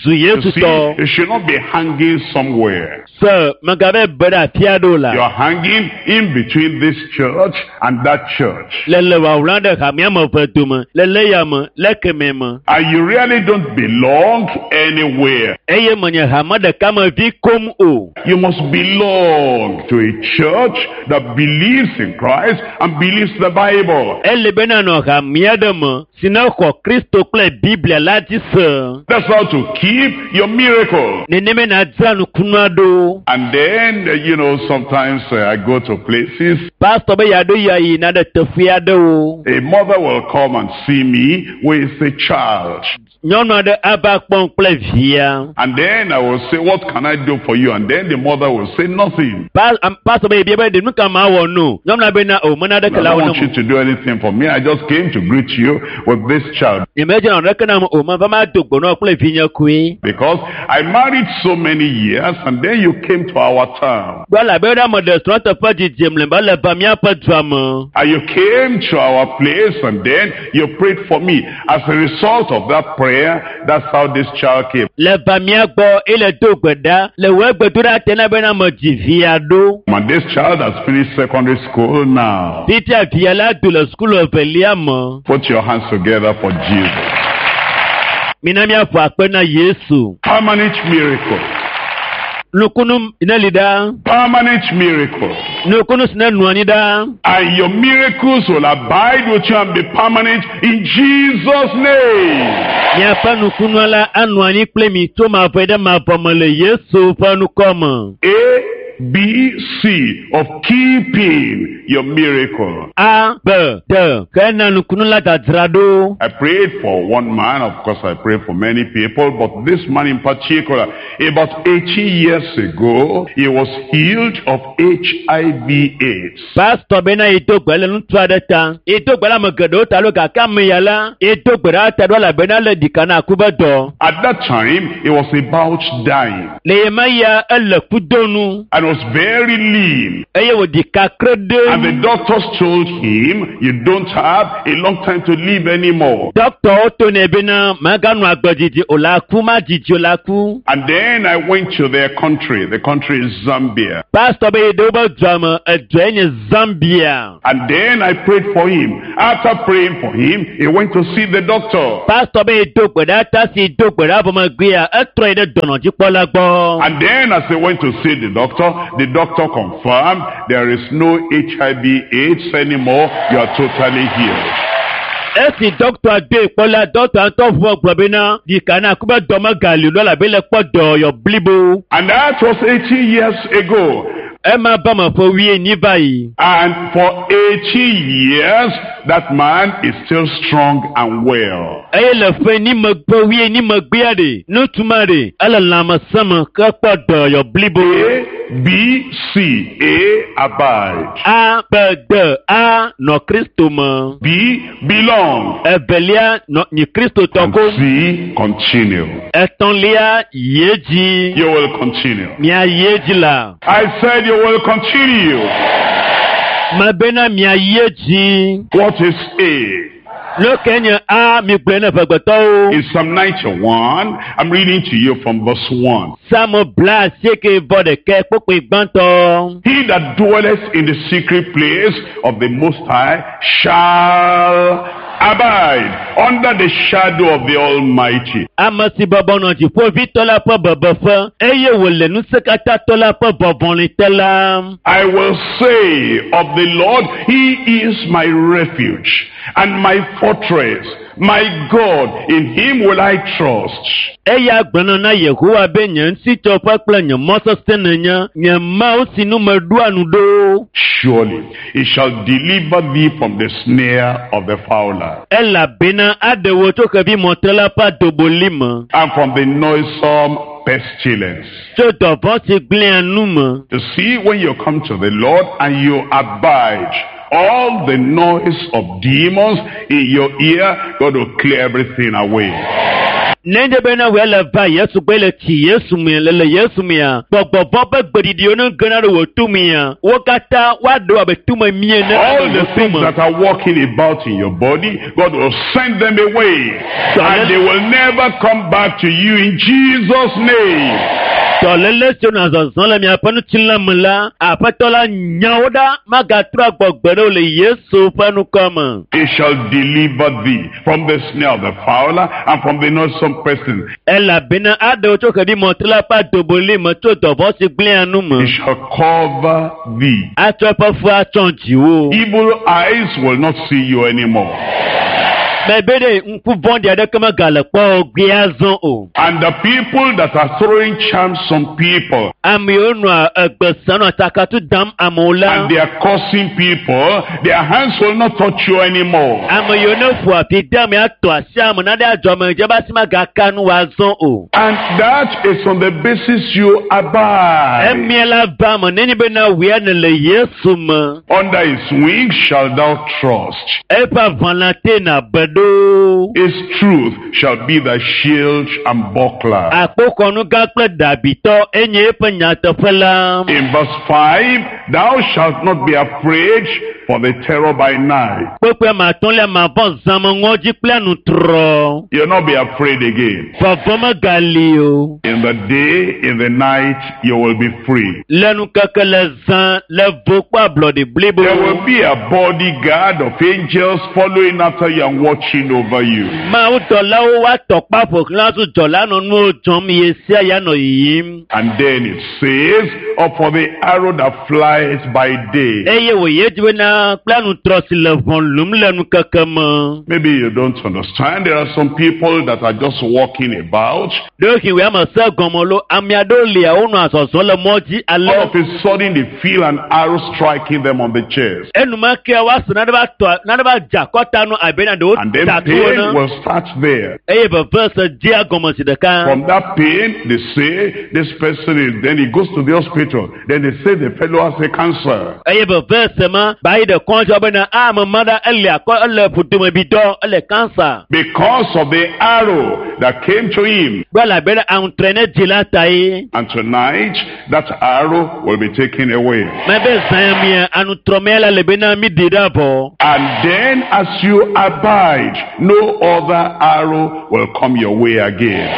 S1: zu
S2: You
S1: Yesu
S2: see,
S1: tɔ.
S2: you should not be hanging somewhere.
S1: Se megabe be ɖe afi aɖe o la.
S2: You are hanging in between this church and that church.
S1: Le le wawla ɖe hamea me eve dome, le le ya me, le kemɛ me.
S2: And you really don't belong anywhere.
S1: Eye menye hame ɖeka me vi kom o.
S2: You must belong to a church that believes in Christ and believes the Bible.
S1: Ele bena nɔ hamea ɖe me si ne xɔ Kristo kple Biblia la dzi se.
S2: That's how to keep your miracle.
S1: Nenema nadzra nukunua ɖo.
S2: And then, uh, you know, sometimes uh, I go to places.
S1: Pastor be yeaɖo ya yina ɖe teƒe aɖewo.
S2: A mother will come and see me with a child.
S1: Nyɔnu aɖe ava kpɔm kple via.
S2: And then I will say, "What can I do for you?" And then the mother will say, "Nothing."
S1: Pa- am- Pastor be yebia be ɖe nu ka ma wɔ no. Nyɔnua be na o mena
S2: "I
S1: ɖeke la
S2: don't
S1: wɔ
S2: want
S1: ne
S2: you
S1: mo.
S2: to do anything for me. I just came to greet you with this child."
S1: Nyemedze nɔ ɖeke nam o meva ma do gbɔnɔ kple vinye koe.
S2: Because I married so many years and then you came to our town.
S1: Gbɔ labe ɖe ame ɖe srɔ̃teƒe dzidzim le be le va míaƒe dua me.
S2: And you came to our place and then you prayed for me. As a result of that prayer, that's how this child came.
S1: Le va mía gbɔ ele do gbe ɖa le wò gbedoɖa te na bena me dzi via ɖo.
S2: And this child has finished secondary school now.
S1: Fifia via la do le sukulu evelia me.
S2: Put your hands together for Jesus.
S1: Mina míaƒo akpe na Yesu.
S2: Permanent miracle.
S1: Nukunu ne li ɖa.
S2: Permanent miracle.
S1: Nukunu si ne nɔ anyi ɖa.
S2: And your miracles will abide with you and be permanent in Jesus' name.
S1: Miaƒe nukunua la anɔ anyi kple mi tso mavɔe ɖe mavɔ me le Yesu ƒe ŋkɔ me.
S2: A, B, C of keeping your miracle.
S1: A, B, D ke na nukunu la dzadzra ɖo.
S2: I prayed for one man, of course I prayed for many people, but this man in particular, about eighty years ago, he was healed of H I V AIDS.
S1: Pastor bena yi do gbe le ŋutsu aɖe ta. Yi do gbe le ame geɖewo ta lo gake ame ya la, yi do gbe ɖe ta ɖo elabena le ɖika na ku be dɔ.
S2: At that time, he was about dying
S1: Le ye ma ya ele kudo nu
S2: and was very lean.
S1: Eye wòɖi kakre
S2: And the
S1: ɖe.
S2: doctors told him, "You don't have a long time to live anymore."
S1: Dɔkitɔwo to nɛ bena maganɔ agbe didi o la ku ma didi o la ku.
S2: And then I went to their country. The country is Zambia.
S1: Pastor be yi ɖe wobe dua me, edua nye Zambia.
S2: And then I prayed for him. After praying for him, he went to see the doctor.
S1: Pastor be yi do gbe ɖa ta si do gbe ɖa vɔ megbea, etrɔ yi ɖe dɔnɔdzikpɔla gbɔ.
S2: And then as he went to see the doctor, the doctor confirmed there is no H I V AIDS anymore. You are totally healed.
S1: Esi dɔkita doe kpɔ la, dɔkita ŋutɔ ʋu gblɔ bena ɖika na ku be dɔ megali o elabe le kpɔ dɔyɔ blibo.
S2: And that was eighteen years ago.
S1: Ema ba me ƒe wuienyi va yi.
S2: And for eighty years, that man is still strong and well.
S1: Eye le ƒe enyi megbe wuienyi megbea ɖe, ŋutsu ma ɖe, ele lãmesẽ me ke kpɔ dɔyɔ blibo.
S2: A, B, C, A, abide.
S1: A, B, D, A nɔ Kristo me.
S2: B, belong.
S1: Evelia nɔ nyi Kristo tɔ
S2: And
S1: ko.
S2: C, continue.
S1: Etɔ̃lia yi edzi.
S2: You will continue.
S1: Mia yi edzi la.
S2: I said you will continue.
S1: Mebena mia yi edzi.
S2: What is A?
S1: Nu ke nye A mi gblɔe ne ʋegbetɔwo.
S2: In Psalm ninety-one, I'm reading to you from verse one.
S1: Psalm bla asieke vɔ ɖekɛ kpukpui gbãtɔ.
S2: He that dwelleth in the secret place of the Most High shall abide under the shadow of the Almighty.
S1: Ame si bɔbɔ nɔ dziƒoʋĩtɔ la ƒe bebeƒe eye wòle ŋusẽkatãtɔ la ƒe vɔvɔli te la.
S2: I will say of the Lord, He is my refuge and my fortress, my God, in Him will I trust.
S1: Eya gblɔna na Yehowa be nye ŋutitsɔƒe kple nye mɔ sesẽ nenye, nye Mawu si nu meɖoa nu ɖo.
S2: Surely He shall deliver thee from the snare of the fowler
S1: Elabena aɖe wò tso xevimɔtrela ƒe adoboli me.
S2: And from the noisome pestilence.
S1: Tso dɔvɔ̃ si gblẽa nu me.
S2: You see, when you come to the Lord and you abide, all the noise of demons in your ear, God will clear everything away.
S1: Nenye bena wòe le va Yesu gbɔ le tsi Yesu me le le Yesu mea, gbɔgbɔvɔ ƒe gbeɖiɖiwo ne gena ɖe wò to mea, wo katã woaɖe abe tume mie ne
S2: All
S1: ɖe
S2: the
S1: wò to
S2: things
S1: me.
S2: That are walking about in your body, God will send them away. And they will never come back to you in Jesus' name.
S1: Dɔléle siwo nɔ zɔzɔm le miaƒe ŋutilã me la, Aƒetɔ la nya wo ɖa magatrɔ agbɔ gbe ɖe o le Yesu ƒe ŋkɔ me.
S2: He shall deliver thee from the snare of the fowler and from the noisome pestilence.
S1: Elabena aɖe wo tso xevimɔtrela ƒe adoboli me tso dɔvɔ̃ si gblẽa nu me.
S2: He shall cover thee.
S1: Atsɔ eƒe fu atsɔ dziwò.
S2: Evil eyes will not see you anymore.
S1: Mebe ɖe ŋku vɔ̃ɖi aɖeke megale kpɔ wò gbe azɔ o.
S2: And the people that are throwing charms on people
S1: Ame yiwo nɔa egbe sem nɔ tsakatu dam amewo la.
S2: And they are cursing people, their hands will not touch you anymore.
S1: Ame yiwo ne ƒo afi de ame atɔ asi ame nane adzɔ ame dze be asi magaka nu wòazɔ o.
S2: And that is on the basis you abide.
S1: Emia la va ame nenye bena wòe nèle Yesu me.
S2: Under his wings shall thou trust.
S1: Eƒe aʋalã te nàbe ɖo.
S2: His truth shall be thy shield and buckler.
S1: Akpoxɔnu gã kple dabitɔ enye eƒe nyateƒe la.
S2: In verse five, thou shalt not be afraid for the terror by night.
S1: Kpukpui atɔ̃lia mavɔ̃ zãme ŋɔdzi kple anutrɔ.
S2: You'll not be afraid again.
S1: Vɔvɔ̃ megali o.
S2: In the day, in the night, you will be free.
S1: Le ŋkeke le zã le vo kple ablɔɖi blibo.
S2: There will be a bodyguard of angels following after you and watching watching over you.
S1: Mawu dɔlawo wa tɔkpa ƒoxlã zu dzɔla nɔ nuwo dzɔm ye sia ya nɔ yiyim.
S2: And then it says, or for the arrow that flies by day.
S1: Eye wòye dzi bena kple anutrɔ si le ʋɔ lum le nukeke me.
S2: Maybe you don't understand. There are some people that are just walking about.
S1: Ɖewohĩ wòye ame se gɔme lo ame aɖewo lia wonɔ azɔzɔ le mɔ dzi
S2: All
S1: ale.
S2: of a sudden, they feel an arrow striking them on the chest.
S1: Enumake woase nane va tɔ nane va dze akɔta nu abe na ɖewo
S2: And then
S1: da to
S2: pain
S1: ene.
S2: will start there.
S1: Eye veve se dzea gɔme zi ɖeka.
S2: From that pain, they say this person is, then he goes to the hospital. Then they say the fellow has a cancer.
S1: Eye veve se ma ba yi ɖe kɔdzi bena ame ma ɖa ele akɔ ele ƒudome bi dɔ ele kansa.
S2: Because of the arrow that came to him.
S1: Gblɔ elabena aŋutrɔe ne dzi la ta ye.
S2: And tonight, that arrow will be taken away.
S1: Mebe zã mia aŋutrɔmea la le bena mi ɖi ɖe vɔ.
S2: And then as you abide, no other arrow will come your way again.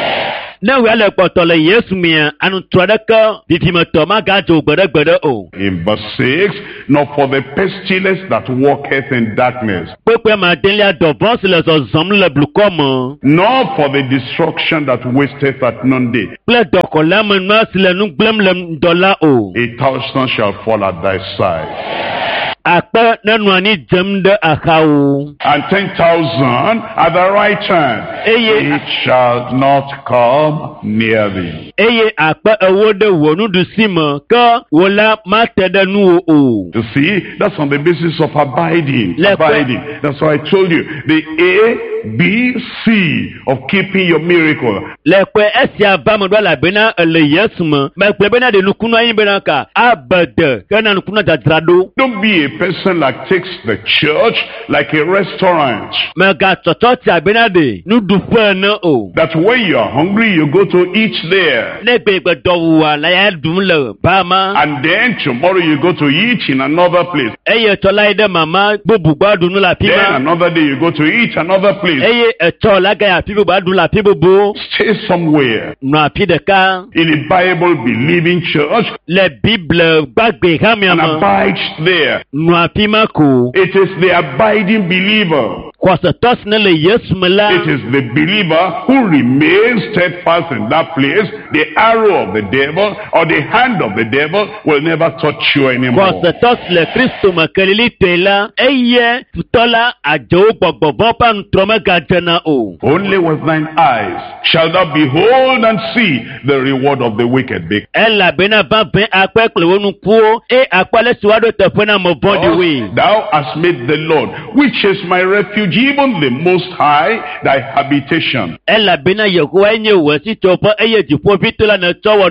S1: Ne wòya le kpɔtɔ le Yesu mia aŋutrɔ ɖeke vivimetɔ magadzo gbeɖegbeɖe o.
S2: In verse six, nor for the pestilence that walketh in darkness,
S1: Kpekpe ma adelia dɔvɔ̃ si le zɔzɔm le blukɔ me
S2: nor for the destruction that wasteth at noonday.
S1: kple dɔkɔleamenua si le nu gblẽm le ŋdɔ la o.
S2: A thousand shall fall at thy side,
S1: Akpe nenɔ anyi dzem ɖe axawo.
S2: and ten thousand at thy right hand.
S1: Eye
S2: It shall not come near thee.
S1: eye akpe ewo ɖe wò nuɖusi me ke wò la mate ɖe nuwò o.
S2: You see, that's on the basis of abiding.
S1: Le-
S2: Abiding. That's why I told you the A, B, C of keeping your miracle.
S1: Le ƒe esia va me ɖo elabena ele Yesu me. Megblɔ bena ɖe nukunu anyi bena ka abede ke na nukunu dzadzra ɖo.
S2: Don't be a person that takes the church like a restaurant.
S1: Megatsɔtsɔ tsia bena ɖe nuɖuƒe ene o.
S2: That when you are hungry, you go to eat there.
S1: Ne gbegbe dɔwua la ya ɖum le ba ma.
S2: And then tomorrow you go to eat in another place.
S1: Eye etsɔ la yi ɖe mama bubu gbɔ aɖu nu le afi
S2: Then
S1: ma.
S2: another day you go to eat another place.
S1: Eye etsɔ la ga yi afi bubu aɖu le afi bubu.
S2: Stay somewhere.
S1: Nɔ afi ɖeka
S2: In a Bible believing church
S1: le Bible gbagbe hamea
S2: and
S1: me.
S2: abide there.
S1: Nɔ afi ma ko.
S2: It is the abiding believer.
S1: Xɔsetɔ si ne le Yesu me la.
S2: It is the believer who remains steadfast in that place. The arrow of the devil or the hand of the devil will never touch you anymore.
S1: Xɔsetɔ si le Kristo me kelilitɔe la, eye futɔ la adzewo gbɔgbɔvɔ ƒe aŋutrɔ megadzena o.
S2: Only with thine eyes shall thou behold and see the reward of the wicked. Because
S1: Elabena vavãe akpɔe kple wò ŋkuwo eye akpɔ ale si woaɖo teƒe na ame vɔ̃ɖiwoe.
S2: thou hast made the Lord, which is my refuge, even the Most High, thy habitation.
S1: Elabena Yehowae nye wò sitsoƒe eye dziƒoʋĩtɔ la nètsɔ wɔ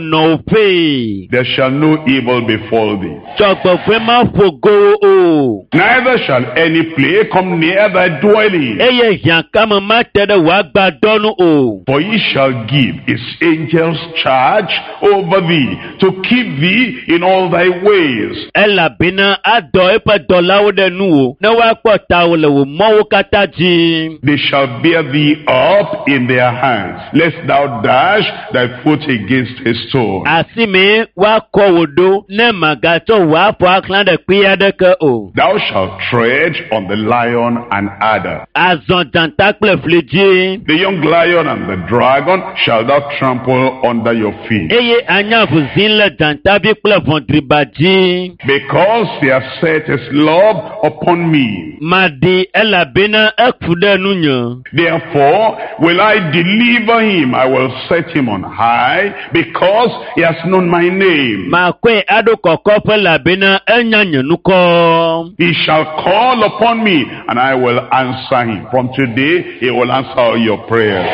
S1: nɔwòƒee.
S2: There shall no evil befall thee,
S1: Dzɔgbevɔ̃e maƒo go wò o.
S2: neither shall any plague come near thy dwelling.
S1: Eye hiãkame mate ɖe wò agbadɔ nu o.
S2: For he shall give his angels charge over thee to keep thee in all thy ways.
S1: Elabena adɔ eƒe dɔlawo ɖe nuwò ne woakpɔ tawò le wò mɔwo katã dzi.
S2: They shall bear thee up in their hands, lest thou dash thy foot against a stone.
S1: Asime woakɔ wò ɖo ne màgatsɔ wò afɔ axlã ɖe kpe aɖeke o.
S2: Thou shalt tread on the lion and adder.
S1: Azɔ dzata kple fli dzi.
S2: The young lion and the dragon shall thou trample under your feet.
S1: Eye anya ʋu le dzatavi kple ʋɔdriba dzi.
S2: Because he has set his love upon me.
S1: Maɖi elabena eku ɖe nunye.
S2: Therefore will I deliver him. I will set him on high because he has known my name.
S1: Makɔe aɖo kɔkɔƒe elabena enya nye ŋkɔ.
S2: He shall call upon me and I will answer him. From today, he will answer all your prayers.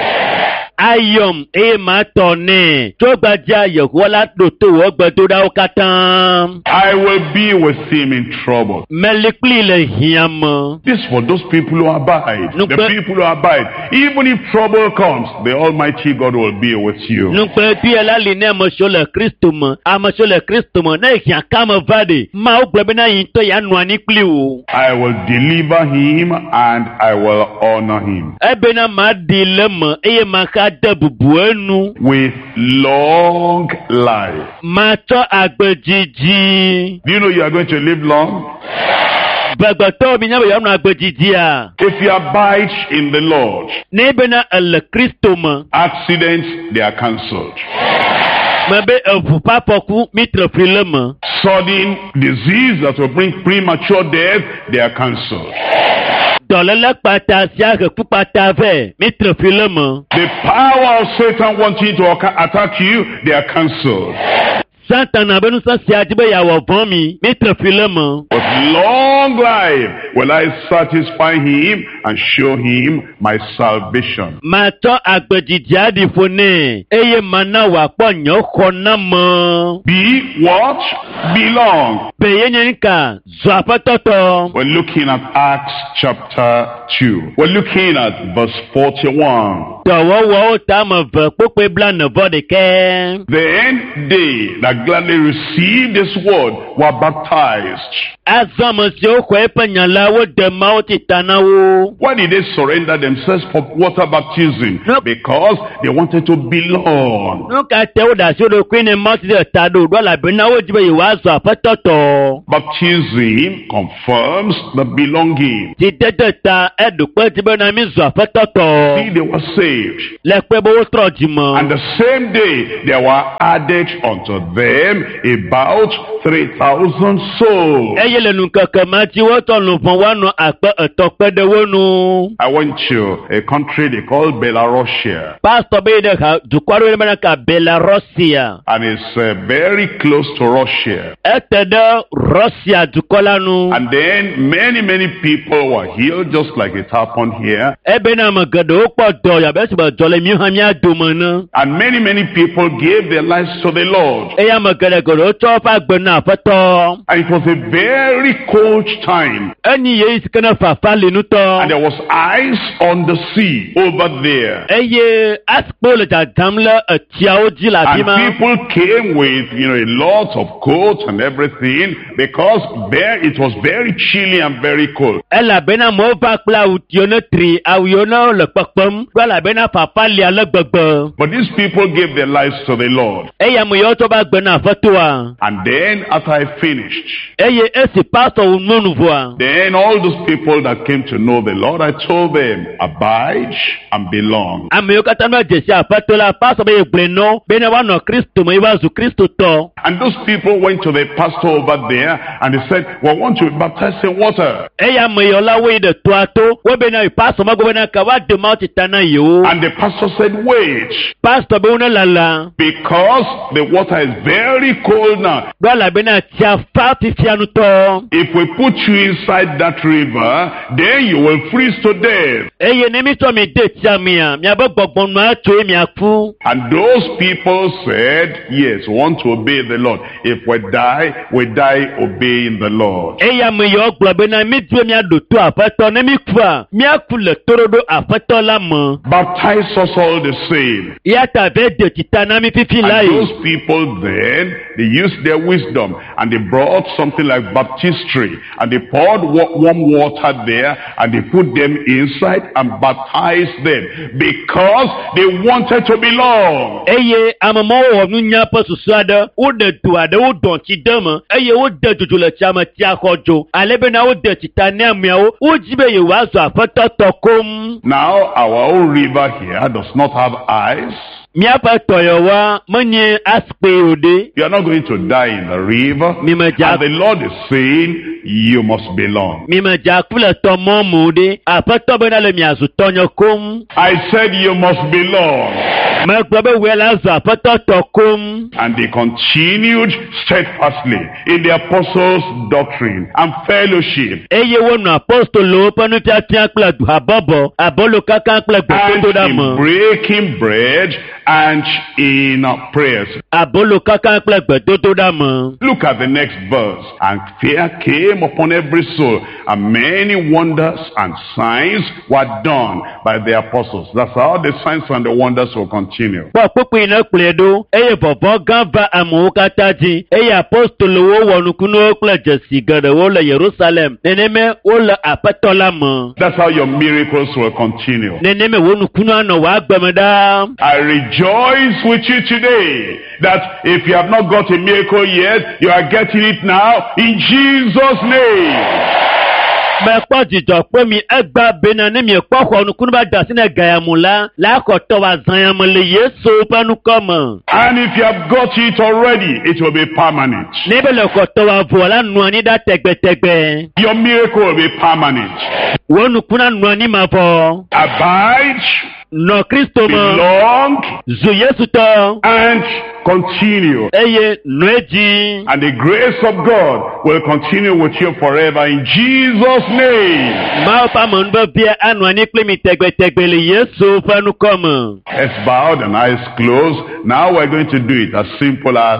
S1: Ayɔm eye matɔ nɛ. Tso gbadza Yehowa la ɖo to wò gbedoɖawo katã.
S2: I will be with him in trouble.
S1: Meli kpli le hiã me.
S2: This for those people who abide.
S1: No,
S2: The
S1: but-
S2: people who abide. Even if trouble comes, the Almighty God will be with you.
S1: Nugblẽbia la li ne ame siwo le Kristo me. Ame siwo le Kristo me ne hiãkame va ɖe, Mawu gblɔ bena yi ŋutɔ yeanɔ anyi kpli wò.
S2: I will deliver him and I will honor him
S1: Ebena maɖi le me eye maxa de bubu enu.
S2: with long life.
S1: Matsɔ agbe dzidzi.
S2: Do you know you are going to live long?
S1: Ʋegbetɔwo mi nya be yewoanɔ agbedzidzia.
S2: If you abide in the Lord,
S1: Ne bena ele Kristo me.
S2: accidents, they are cancelled.
S1: Me be eʋu ƒe afɔku mi tre fli le me.
S2: Sudden disease that will bring premature death, they are cancelled.
S1: Dɔléle kpata sia he ku kpata vɛ mi tre fli le me.
S2: The power of Satan wanting to acca- attack you, they are cancelled.
S1: Satana be ŋusẽ sia di be yeawɔ vɔ̃ mi mi tre fli le me.
S2: With long life will I satisfy him and show him my salvation.
S1: Matsɔ agbedzidzi aɖi ƒo nɛ eye mana wòakpɔ nye xɔname.
S2: Be what? Belong.
S1: Be ye nye ŋka zɔ aƒetɔtɔ.
S2: We're looking at Acts chapter two. We're looking at verse forty-one.
S1: Dɔwɔwɔwo ta ame eve kpokpoe blaene vɔ ɖekɛ.
S2: Then they that gladly received this word were baptized.
S1: Azɔ ame siwo xɔ eƒe nya la wode Mawu tsi ta na wo.
S2: Why did they surrender themselves for water baptism?
S1: No.
S2: Because they wanted to belong.
S1: Nu ka te woɖe asi wo ɖokui ne Mawu tsi ɖe ta ɖo ɖo elabena wodzi be yewoazɔ aƒetɔtɔ.
S2: Baptism confirms the belonging.
S1: Tsidede ta eɖo kpe dzi bena mi zɔ aƒetɔtɔ.
S2: See, they were saved.
S1: Le kpe be wotrɔ dzime.
S2: And the same day there were added unto them about three thousand souls.
S1: Eye le nukeke ma dzi wotɔ luʋɔ woanɔ akpe etɔ̃ kpe ɖe wo nu.
S2: I went to a country they call Belarusia,
S1: Pastor be yi ɖe ha dukɔ aɖewo bena ka Belarusia.
S2: and it's uh, very close to Russia.
S1: Ete ɖe Russia dukɔ la nu.
S2: And then many, many people were healed just like it happened here.
S1: Ebena ame geɖewo kpɔ dɔ abe esi be dɔ le míwo hã mía dome ene.
S2: And many, many people gave their lives to the Lord.
S1: Eye ame geɖe geɖewo tsɔ woƒe agbe na Aƒetɔ.
S2: And it was a very cold time.
S1: Enyi ɣeyiɣi si ke ne fafa li ŋutɔ.
S2: And there was ice on the sea over there.
S1: Eye asikpo le dzadzam le etsiawo dzi le afi
S2: And
S1: ma.
S2: people came with, you know, a lot of coats and everything because there it was very chilly and very cold.
S1: Elabena amewo va kple awu yiwo ne tri, awu yiwo ne le kpekpem ɖo elabena fafa li ale gbegbe.
S2: But these people gave their lives to the Lord.
S1: Eye ame yiwo tsɔ va gbe na Aƒetɔa.
S2: And then after I finished,
S1: Eye esi pastor wu nyɔnu vɔa,
S2: then all those people that came to know the Lord, I told them, abide and belong.
S1: ame yiwo katã va dze si Aƒetɔ la, pastor be ye gblɔe na wo bena woanɔ Kristo me ye woazu Kristotɔ.
S2: And those people went to the pastor over there and they said, we want to be baptized in water.
S1: Eye ame yiwo la woyi ɖe toa to, wobena yi pastor megblɔ bena ka woade Mawu tsi ta na yewo.
S2: And the pastor said, wait,
S1: Pastor be wo ne lala
S2: because the water is very cold now.
S1: ɖo elabena tsia fa fifia ŋutɔ.
S2: If we put you inside that river, then you will freeze to death.
S1: Eye ne mi tsɔ mi de tsia mea, miabe gbɔgbɔnua tso ye miaku.
S2: And those people said, yes, we want to obey the Lord. If we die, we die obeying the Lord.
S1: Eye ame yiwo gblɔ bena mi di be miaɖo to Aƒetɔ ne mi kua, miaku le toɖoɖo Aƒetɔ la me.
S2: Baptize us all the same.
S1: Eya ta ve de tsi ta na mi fifi la
S2: And
S1: yi.
S2: those people then, they used their wisdom and they brought something like baptistry and they poured wa- warm water there and they put them inside and baptized them because they wanted to belong.
S1: Eye ame mawo wɔ nunya ƒe susu aɖe, woɖe do aɖe, wodɔ tsi de me eye wode dzodzo le tsia me, tsia xɔ dzo ale bena wode tsi ta ne ameawo. Wodzi be yewoazɔ Aƒetɔ tɔ koŋ.
S2: Now our own river here does not have ice.
S1: Míaƒe tɔyɔwa menye asikpe o ɖe.
S2: You are not going to die in the river.
S1: Mi me dza
S2: And the Lord is saying, you must belong.
S1: mi me dza ku le tɔ mɔ me o ɖe. Aƒetɔ bena le miazu tɔnye koŋ.
S2: I said you must belong.
S1: Megblɔ be wòe la zɔ Aƒetɔ tɔ koŋ.
S2: And they continued steadfastly in the apostles' doctrine and fellowship
S1: Eye wonɔ apostolowo ƒe nufiafia kple habɔbɔ, abolo kaka kple
S2: and
S1: gbedodoɖa
S2: in
S1: me.
S2: breaking bread and in prayers.
S1: Abolo kaka kple gbedodoɖa me.
S2: Look at the next verse. And fear came upon every soul, and many wonders and signs were done by the apostles. That's how the signs and the wonders will continue.
S1: Kpɔ kpukpui ne kplɔe ɖo eye vɔvɔ̃ gã va amewo katã dzi eye apostolowo wɔ nukunuwo kple dzesi geɖewo le Yerusalem. Neneme wole Aƒetɔ la me.
S2: That's how your miracles will continue.
S1: Neneme wo nukunu anɔ wò agbe me ɖaa.
S2: I rejoice with you today that if you have not got a miracle yet, you are getting it now in Jesus' name.
S1: Mekpɔ dzidzɔ kpe mi egba bena ne miekpɔ xɔ nukunu ba da asi ne gayamu la, la xɔ tɔ wa zãyame le Yesu ƒe ŋkɔ me.
S2: And if you have got it already, it will be permanent.
S1: Ne be le xɔ tɔ wa vɔ la nɔ anyi ɖa tɛgbɛtɛgbɛ.
S2: Your miracle will be permanent.
S1: Wo nukuna nɔ anyi mavɔ.
S2: Abide,
S1: Nɔ Kristo me.
S2: belong,
S1: Zu Yesu tɔ.
S2: and continue.
S1: Eye nɔ edzi.
S2: And the grace of God will continue with you forever in Jesus' name.
S1: Mawu ƒe amenuvevia anɔ anyi kpli mi tɛgbɛtɛgbɛ le Yesu ƒe ŋkɔ me.
S2: Heads bowed and eyes closed. Now we're going to do it as simple as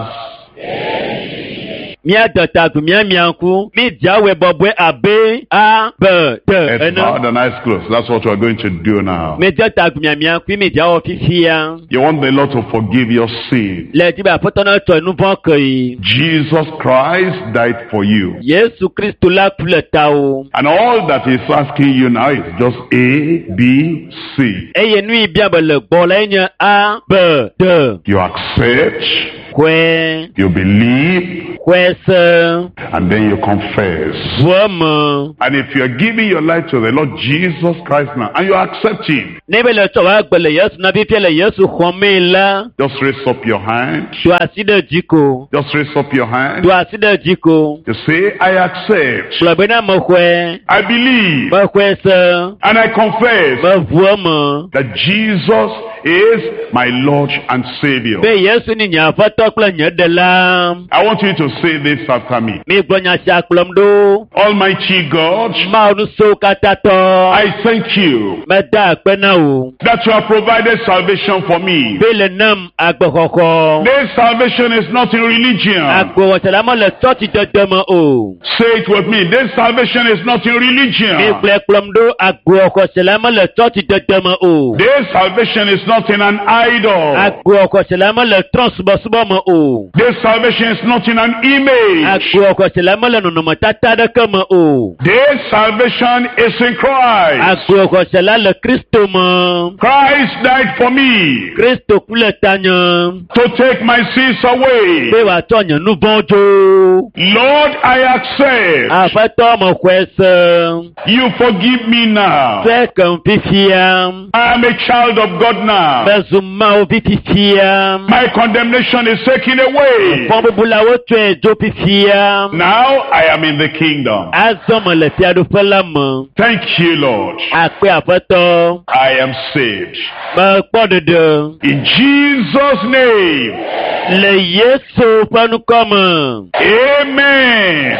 S1: Míade ta agu míamia ŋku. Mídzawɔe bɔbɔe abe A, B, D
S2: heads
S1: ene.
S2: bowed and eyes closed. That's what we're going to do now.
S1: Míede ta agu miamia ŋku mídzawɔ fifia.
S2: You want the Lord to forgive your sin.
S1: Le dzi be Aƒetɔ na tsɔ nu vɔ̃ ke yi.
S2: Jesus Christ died for you.
S1: Yesu Kristo la ku le tawò.
S2: And all that he's asking you now is just A, B, C.
S1: Eye nu yi bia be le gbɔ la nye A, B, D.
S2: You accept,
S1: Xɔe,
S2: you believe,
S1: xɔe se,
S2: and then you confess.
S1: ʋu eme.
S2: And if you're giving your life to the Lord Jesus Christ now, and you accept him,
S1: Ne be le tsɔ wò agbe le Yesu na fifia le Yesu xɔmee la,
S2: just raise up your hand.
S1: do asi ɖe dzi ko.
S2: Just raise up your hand.
S1: Do asi ɖe dzi ko.
S2: You say, I accept,
S1: Gblɔ bena mexɔe,
S2: I believe,
S1: mexɔe se,
S2: and I confess
S1: meʋu eme.
S2: that Jesus is my Lord and Savior.
S1: Be Yesu ni nye Aƒetɔ kple nye Ɖela.
S2: I want you to say this after me.
S1: Migblɔ nya sia kplɔm ɖo.
S2: Almighty God,
S1: Mawu nusowo katã tɔ.
S2: I thank you
S1: Meda akpe na wò.
S2: that you have provided salvation for me.
S1: Be le nam agbexɔxɔ.
S2: This salvation is not in religion.
S1: Agbewɔsela mele tsɔtsi dede me o.
S2: Say it with me. This salvation is not in religion.
S1: Migblɔe kplɔm ɖo agbewɔxɔsela mele tsɔtsi dede me o.
S2: This salvation is not in an idol.
S1: Agbewɔxɔsela mele trɔ̃subɔsubɔ me o.
S2: This salvation is not in an image.
S1: Agbewɔxɔsela mele nɔnɔmetata aɖeke me o.
S2: This salvation is in Christ.
S1: Agbewɔxɔsela le Kristo me.
S2: Christ died for me
S1: Kristo ku le tanye.
S2: to take my sins away.
S1: Be wòatsɔ nye nu vɔ̃ dzo.
S2: Lord, I accept.
S1: Aƒetɔ mexɔe se.
S2: You forgive me now.
S1: Fɛ kem fifia.
S2: I am a child of God now.
S1: Mezu Mawu vi fifia.
S2: My condemnation is taken away.
S1: Fɔbubulawo tsɔe dzo fifia.
S2: Now I am in the kingdom.
S1: Azɔ mele fiaɖuƒe la me.
S2: Thank you, Lord.
S1: Akpe Aƒetɔ.
S2: I am saved.
S1: Mekpɔ ɖeɖe.
S2: In Jesus' name.
S1: Le Yesu ƒe ŋkɔ me.
S2: Amen.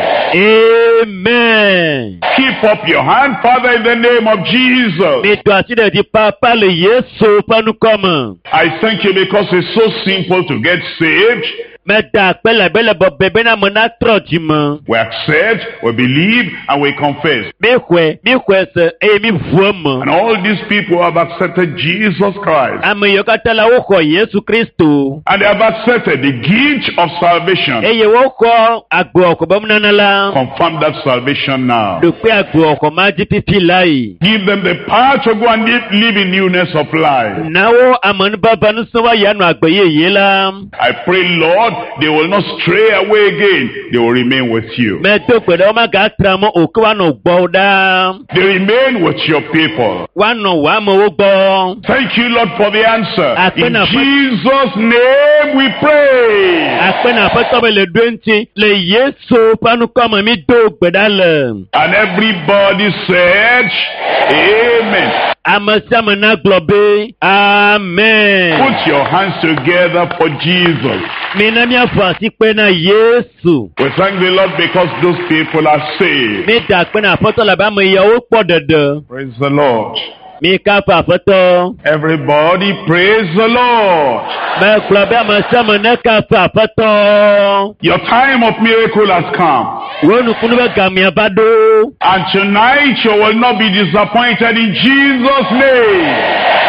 S1: Amen.
S2: Keep up your hand, Father, in the name of Jesus.
S1: Mi do asi ɖe dzi papa le Yesu ƒe ŋkɔ me.
S2: I thank you because it's so simple to get saved.
S1: Meda akpe le be le bɔbɔe bena ame natrɔ dzi me.
S2: We accept, we believe, and we confess.
S1: Mi xɔe, mi xɔe se eye mi ʋu eme.
S2: And all these people have accepted Jesus Christ.
S1: Ame yiwo katã la woxɔ Yesu Kristo
S2: And they have accepted the gift of salvation.
S1: eye woxɔ agbewɔxɔ be nunana la.
S2: Confirm that salvation now.
S1: Ɖokpe agbewɔxɔ ma dzi fifi la yi.
S2: Give them the power to go and live, live in newness of life.
S1: Na wo amenuveve nusẽ woayi anɔ agbe yeye la.
S2: I pray, Lord, they will not stray away again. They will remain with you.
S1: Medo gbe ɖe womagatra mɔ o ke woanɔ gbɔwò ɖaa.
S2: They remain with your people.
S1: Woanɔ wò amewo gbɔ.
S2: Thank you, Lord, for the answer. In
S1: Akpena-
S2: Jesus' name we pray.
S1: Akpe na Aƒetɔ be le ɖo eŋuti le Yesu ƒe ŋkɔ me mi do gbe ɖa le.
S2: And everybody said, Amen.
S1: Ame sia ame nagblɔ be Amen.
S2: Put your hands together for Jesus.
S1: Mina míaƒo asikpe na Yesu.
S2: We thank the Lord because those people are saved.
S1: Mi da akpe na Aƒetɔ labe ame yawo kpɔ ɖeɖe.
S2: Praise the Lord.
S1: Mi kafu Aƒetɔ.
S2: Everybody praise the Lord.
S1: Megblɔ be ame sia ame nekafu Aƒetɔ.
S2: Your time of miracle has come.
S1: Wo nukunu be gamea va ɖo.
S2: And tonight you will not be disappointed in Jesus' name.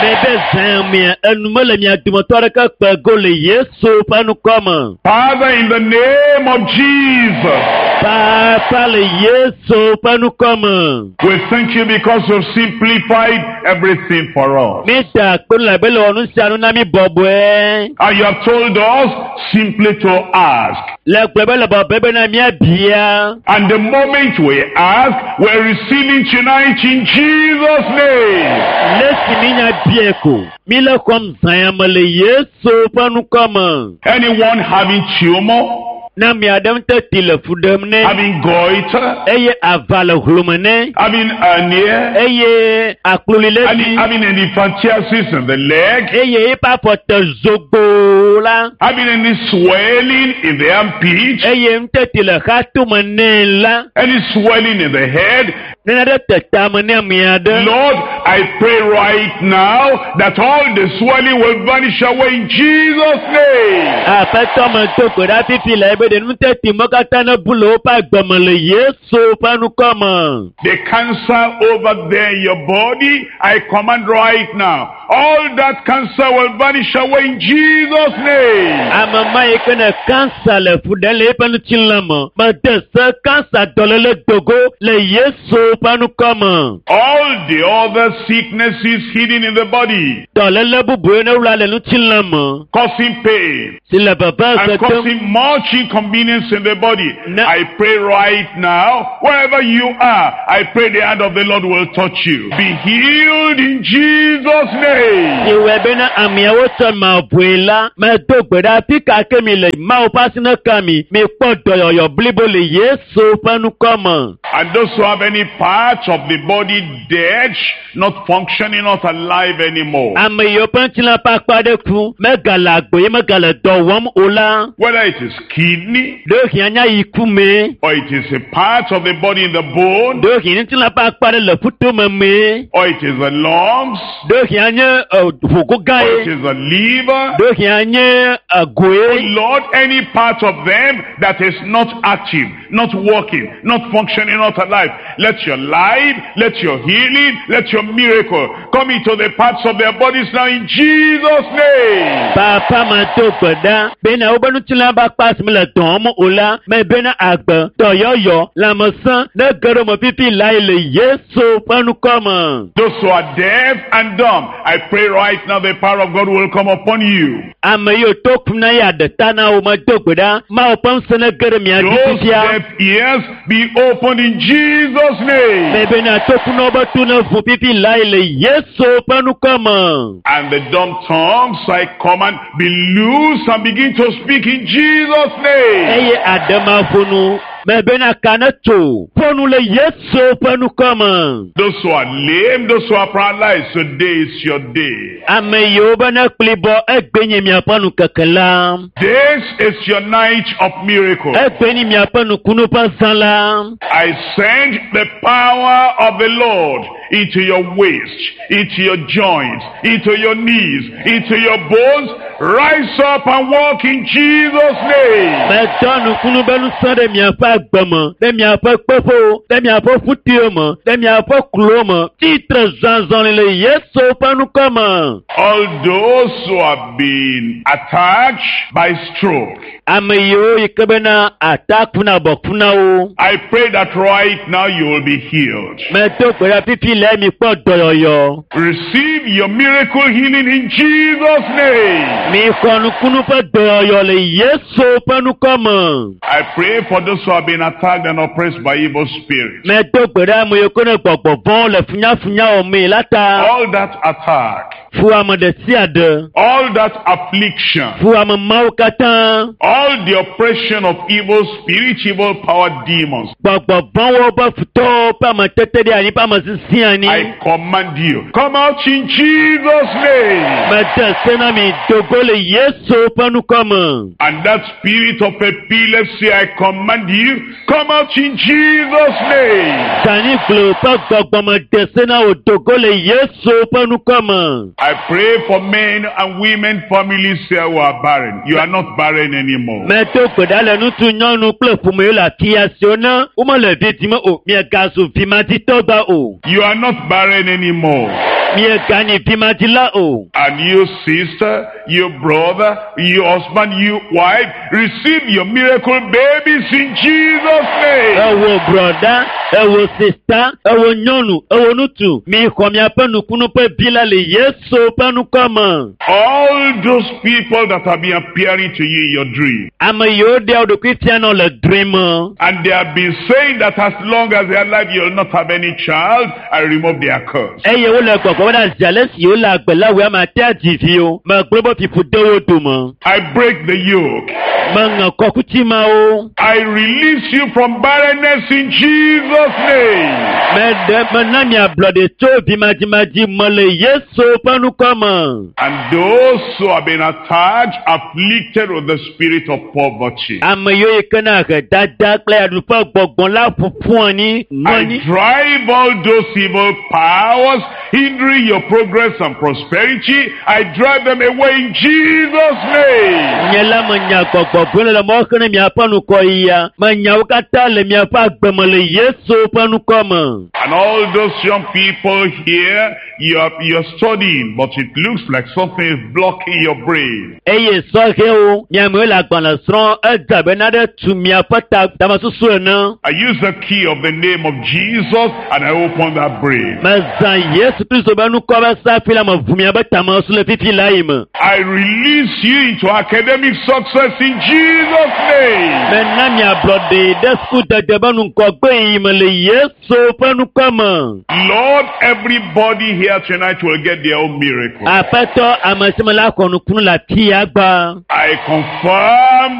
S1: Mebe zã mia enu mele mia dometɔ aɖeke kpe go le Yesu ƒe ŋkɔ me.
S2: Father, in the name of Jesus,
S1: Papa Papa le Yesu ƒe ŋkɔ me.
S2: We thank you because you've simplified everything for us.
S1: Mi da akpe nu le be le wɔ nu sia nu na mi bɔbɔe.
S2: And you have told us simply to ask.
S1: Le gblɔ be le bɔbɔe bena míabia.
S2: And the moment we ask, we're receiving tonight in Jesus' name.
S1: Le si mi nya bia ko. Mi le xɔm zã ya me le Yesu ƒe ŋkɔ me.
S2: Anyone having tumor,
S1: Na mi aɖe ŋutɔ le fu ɖem nɛ.
S2: having goiter,
S1: Eye ava le hlome nɛ.
S2: having hernia,
S1: Eye akloli le
S2: having,
S1: dzi.
S2: having elephantiasis in the leg,
S1: Eye eƒe afɔ te zogboo la.
S2: having any swelling in the armpit,
S1: Eye ŋuteti le xatome nɛ la.
S2: any swelling in the head.
S1: Nene ɖe te tame ne ame aɖe.
S2: Lord, I pray right now that all the swelling will vanish away in Jesus' name.
S1: Aƒetɔ me do gbe ɖa fifi le ebe ɖe nuteti me katã ne bu le woƒe agbe me le Yesu ƒe ŋkɔ me.
S2: The cancer over there in your body, I command right now. All that cancer will vanish away in Jesus' name.
S1: Ame ma yi ke ne kansa le fu ɖem le eƒe ŋutilã me, mede se kansa dɔléle dogo le Yesu ƒe ŋkɔ me.
S2: All the other sicknesses hidden in the body,
S1: Dɔléle bubu ne wla le ŋutilã me
S2: causing pain
S1: si le veve
S2: and
S1: se dem.
S2: causing much inconvenience in the body.
S1: No.
S2: I pray right now, wherever you are, I pray the hand of the Lord will touch you. Be healed in Jesus' name.
S1: Ewɔe bena ameawo tsɔ mavɔe la, medo gbe ɖa fi ka ke mi le Mawu ƒe asi ne ka mi, mikpɔ dɔyɔyɔ blibo le Yesu ƒe ŋkɔ me.
S2: And those who have any part of the body dead, not functioning, not alive anymore.
S1: Ame yiwo ƒe ŋutilã ƒe akpa ɖe ku, megale agbe ye megale dɔ wɔm o la,
S2: Whether it is kidney,
S1: ɖewohĩ anya yi ku mee,
S2: or it is a part of the body in the bone,
S1: ɖewohĩ ŋutilã ƒe akpa ɖe le ƒutome mee,
S2: or it is the lungs,
S1: ɖewohĩ anye ɛ, ʋugo gã
S2: or it
S1: ye,
S2: is the liver.
S1: ɖewohĩ anye egoe.
S2: Lord, any part of them that is not active, not working, not functioning, not alive, let your life, let your healing, let your miracle come into the parts of their bodies now in Jesus' name.
S1: Papa me do gbe ɖa bena woƒe ŋutilã ƒe akpa si mele dɔ wɔm o la, me bena agbe, dɔyɔyɔ, lãmesẽ ne ge ɖe me fifi lae le Yesu ƒe ŋkɔ me.
S2: Those who are deaf and dumb, I pray right now the power of God will come upon you.
S1: Ame yiwo to kum na ye aɖe ta na wo me do gbe ɖa, Mawu ƒe ŋusẽ ne ge ɖe mia dzi
S2: Those
S1: fifia.
S2: deaf ears be opened in Jesus' name.
S1: Me bena tokunɔwo be to ne ʋu fifi lae le Yesu ƒe ŋkɔ me.
S2: And the dumb tongues, I command, be loose and begin to speak in Jesus' name.
S1: Eye aɖemaƒonu me bena ka ne tso ƒonu le Yesu ƒe ŋkɔ me.
S2: Those who are lame, those who are paralyzed, today is your day.
S1: Ame yiwo be ne kplibɔ egbe nye miaƒe nukeke la.
S2: This is your night of miracle.
S1: Egbe nye miaƒe nukunu ƒe zã la.
S2: I send the power of the Lord into your waist, into your joints, into your knees, into your bones. Rise up and walk in Jesus' name.
S1: Medɔ nukunu be ŋusẽ ɖe miaƒe agbe me, ɖe miaƒe kpeƒewo, ɖe miaƒe ƒutiwo me, ɖe miaƒe klowo me. Tsitre zɔzɔli le Yesu ƒe ŋkɔ me.
S2: All those who have been attacked by stroke,
S1: Ame yiwo yi ke bena ata kuna bɔ kuna wo.
S2: I pray that right now you will be healed.
S1: Medo gbe ɖa fifi le mi kpɔ dɔyɔyɔ.
S2: Receive your miracle healing in Jesus' name.
S1: Mi xɔ nukunu ƒe dɔyɔyɔ le Yesu ƒe ŋkɔ me.
S2: I pray for those who have been attacked and oppressed by evil spirits.
S1: Medo gbe ɖa ame yiwo ke ne gbɔgbɔ vɔ̃wo le funyafunya wɔmee la ta.
S2: All that attack,
S1: Fu ame ɖe sia ɖe.
S2: all that affliction,
S1: Fu ame mawo katã.
S2: all the oppression of evil spirits, evil power demons.
S1: Gbɔgbɔ vɔ̃wo ƒe futɔwo ƒe ametete ɖe anyi ƒe ame sisi anyi.
S2: I command you, come out in Jesus' name.
S1: Mede se na mi dogo le Yesu ƒe ŋkɔ me.
S2: And that spirit of epilepsy, I command you, come out in Jesus' name.
S1: Dani glo ƒe gbɔgbɔ me de se na wò dogo le Yesu ƒe ŋkɔ me.
S2: I pray for men and women, families here who are barren. You are not barren anymore.
S1: Medo gbe ɖa le ŋutsu, nyɔnu kple ƒome yiwo le afi siwo ne womele vi dim o, miegazu vimaditɔ gba o.
S2: You are not barren anymore.
S1: Mieganyi vimadzila o.
S2: And you sister, you brother, you husband, you wife, receive your miracle babies in Jesus' name.
S1: Ewo brother, ewo sister, ewo nyɔnu, ewo ŋutsu. Mi xɔ miaƒe nukunu ƒe vi la le Yesu ƒe ŋkɔ me.
S2: All those people that have been appearing to you in your dream,
S1: Ame yiwo ɖea wo ɖokui fia nɔ le drɔ̃e me.
S2: and they have been saying that as long as they are alive, you'll not have any child, I remove their curse.
S1: Eye wole gbɔgbɔ be ɖe ale si wole agbe la wòe ame ate adzi vi o. Megblɔ be fiƒu de wo dome.
S2: I break the yoke.
S1: Meŋe kɔkuti mawo.
S2: I release you from barrenness in Jesus' name.
S1: Meɖe mena mi ablɔɖe tso vimadzimadzi me le Yesu ƒe ŋkɔ me.
S2: And those who have been attacked, afflicted with the spirit of poverty.
S1: Ame yiwo yi ke na ahedada kple yaɖuƒe gbɔgbɔ la ƒoƒu anyi nɔ
S2: I
S1: anyi.
S2: drive all those evil powers hindering your progress and prosperity. I drive them away in Jesus' name.
S1: Nye la menya gbɔgbɔ vɔ̃ le mɔ xlẽ miaƒe ŋgɔyia. Menya wo katã le miaƒe agbe me le Yesu ƒe ŋkɔ me.
S2: And all those young people here, you're, you're studying, but it looks like something is blocking your brain.
S1: Eye sɔhɛwo, miamewo le agbalẽ srɔ̃ edze abe nane tu miaƒe ta tamesusu ene.
S2: I use the key of the name of Jesus and I open that brain.
S1: Mezã Yesu Kristo be ŋkɔ be safi la meʋu miaƒe tamesusu le fifi la yi me.
S2: I release you into academic success in Jesus' name.
S1: Mena miablɔɖe ɖe sukudede be ŋgɔgbe yi me le Yesu ƒe ŋkɔ me.
S2: Lord, everybody here tonight will get their own miracle.
S1: Aƒetɔ ame sia ame la xɔ nukunu le afi ya gba.
S2: I confirm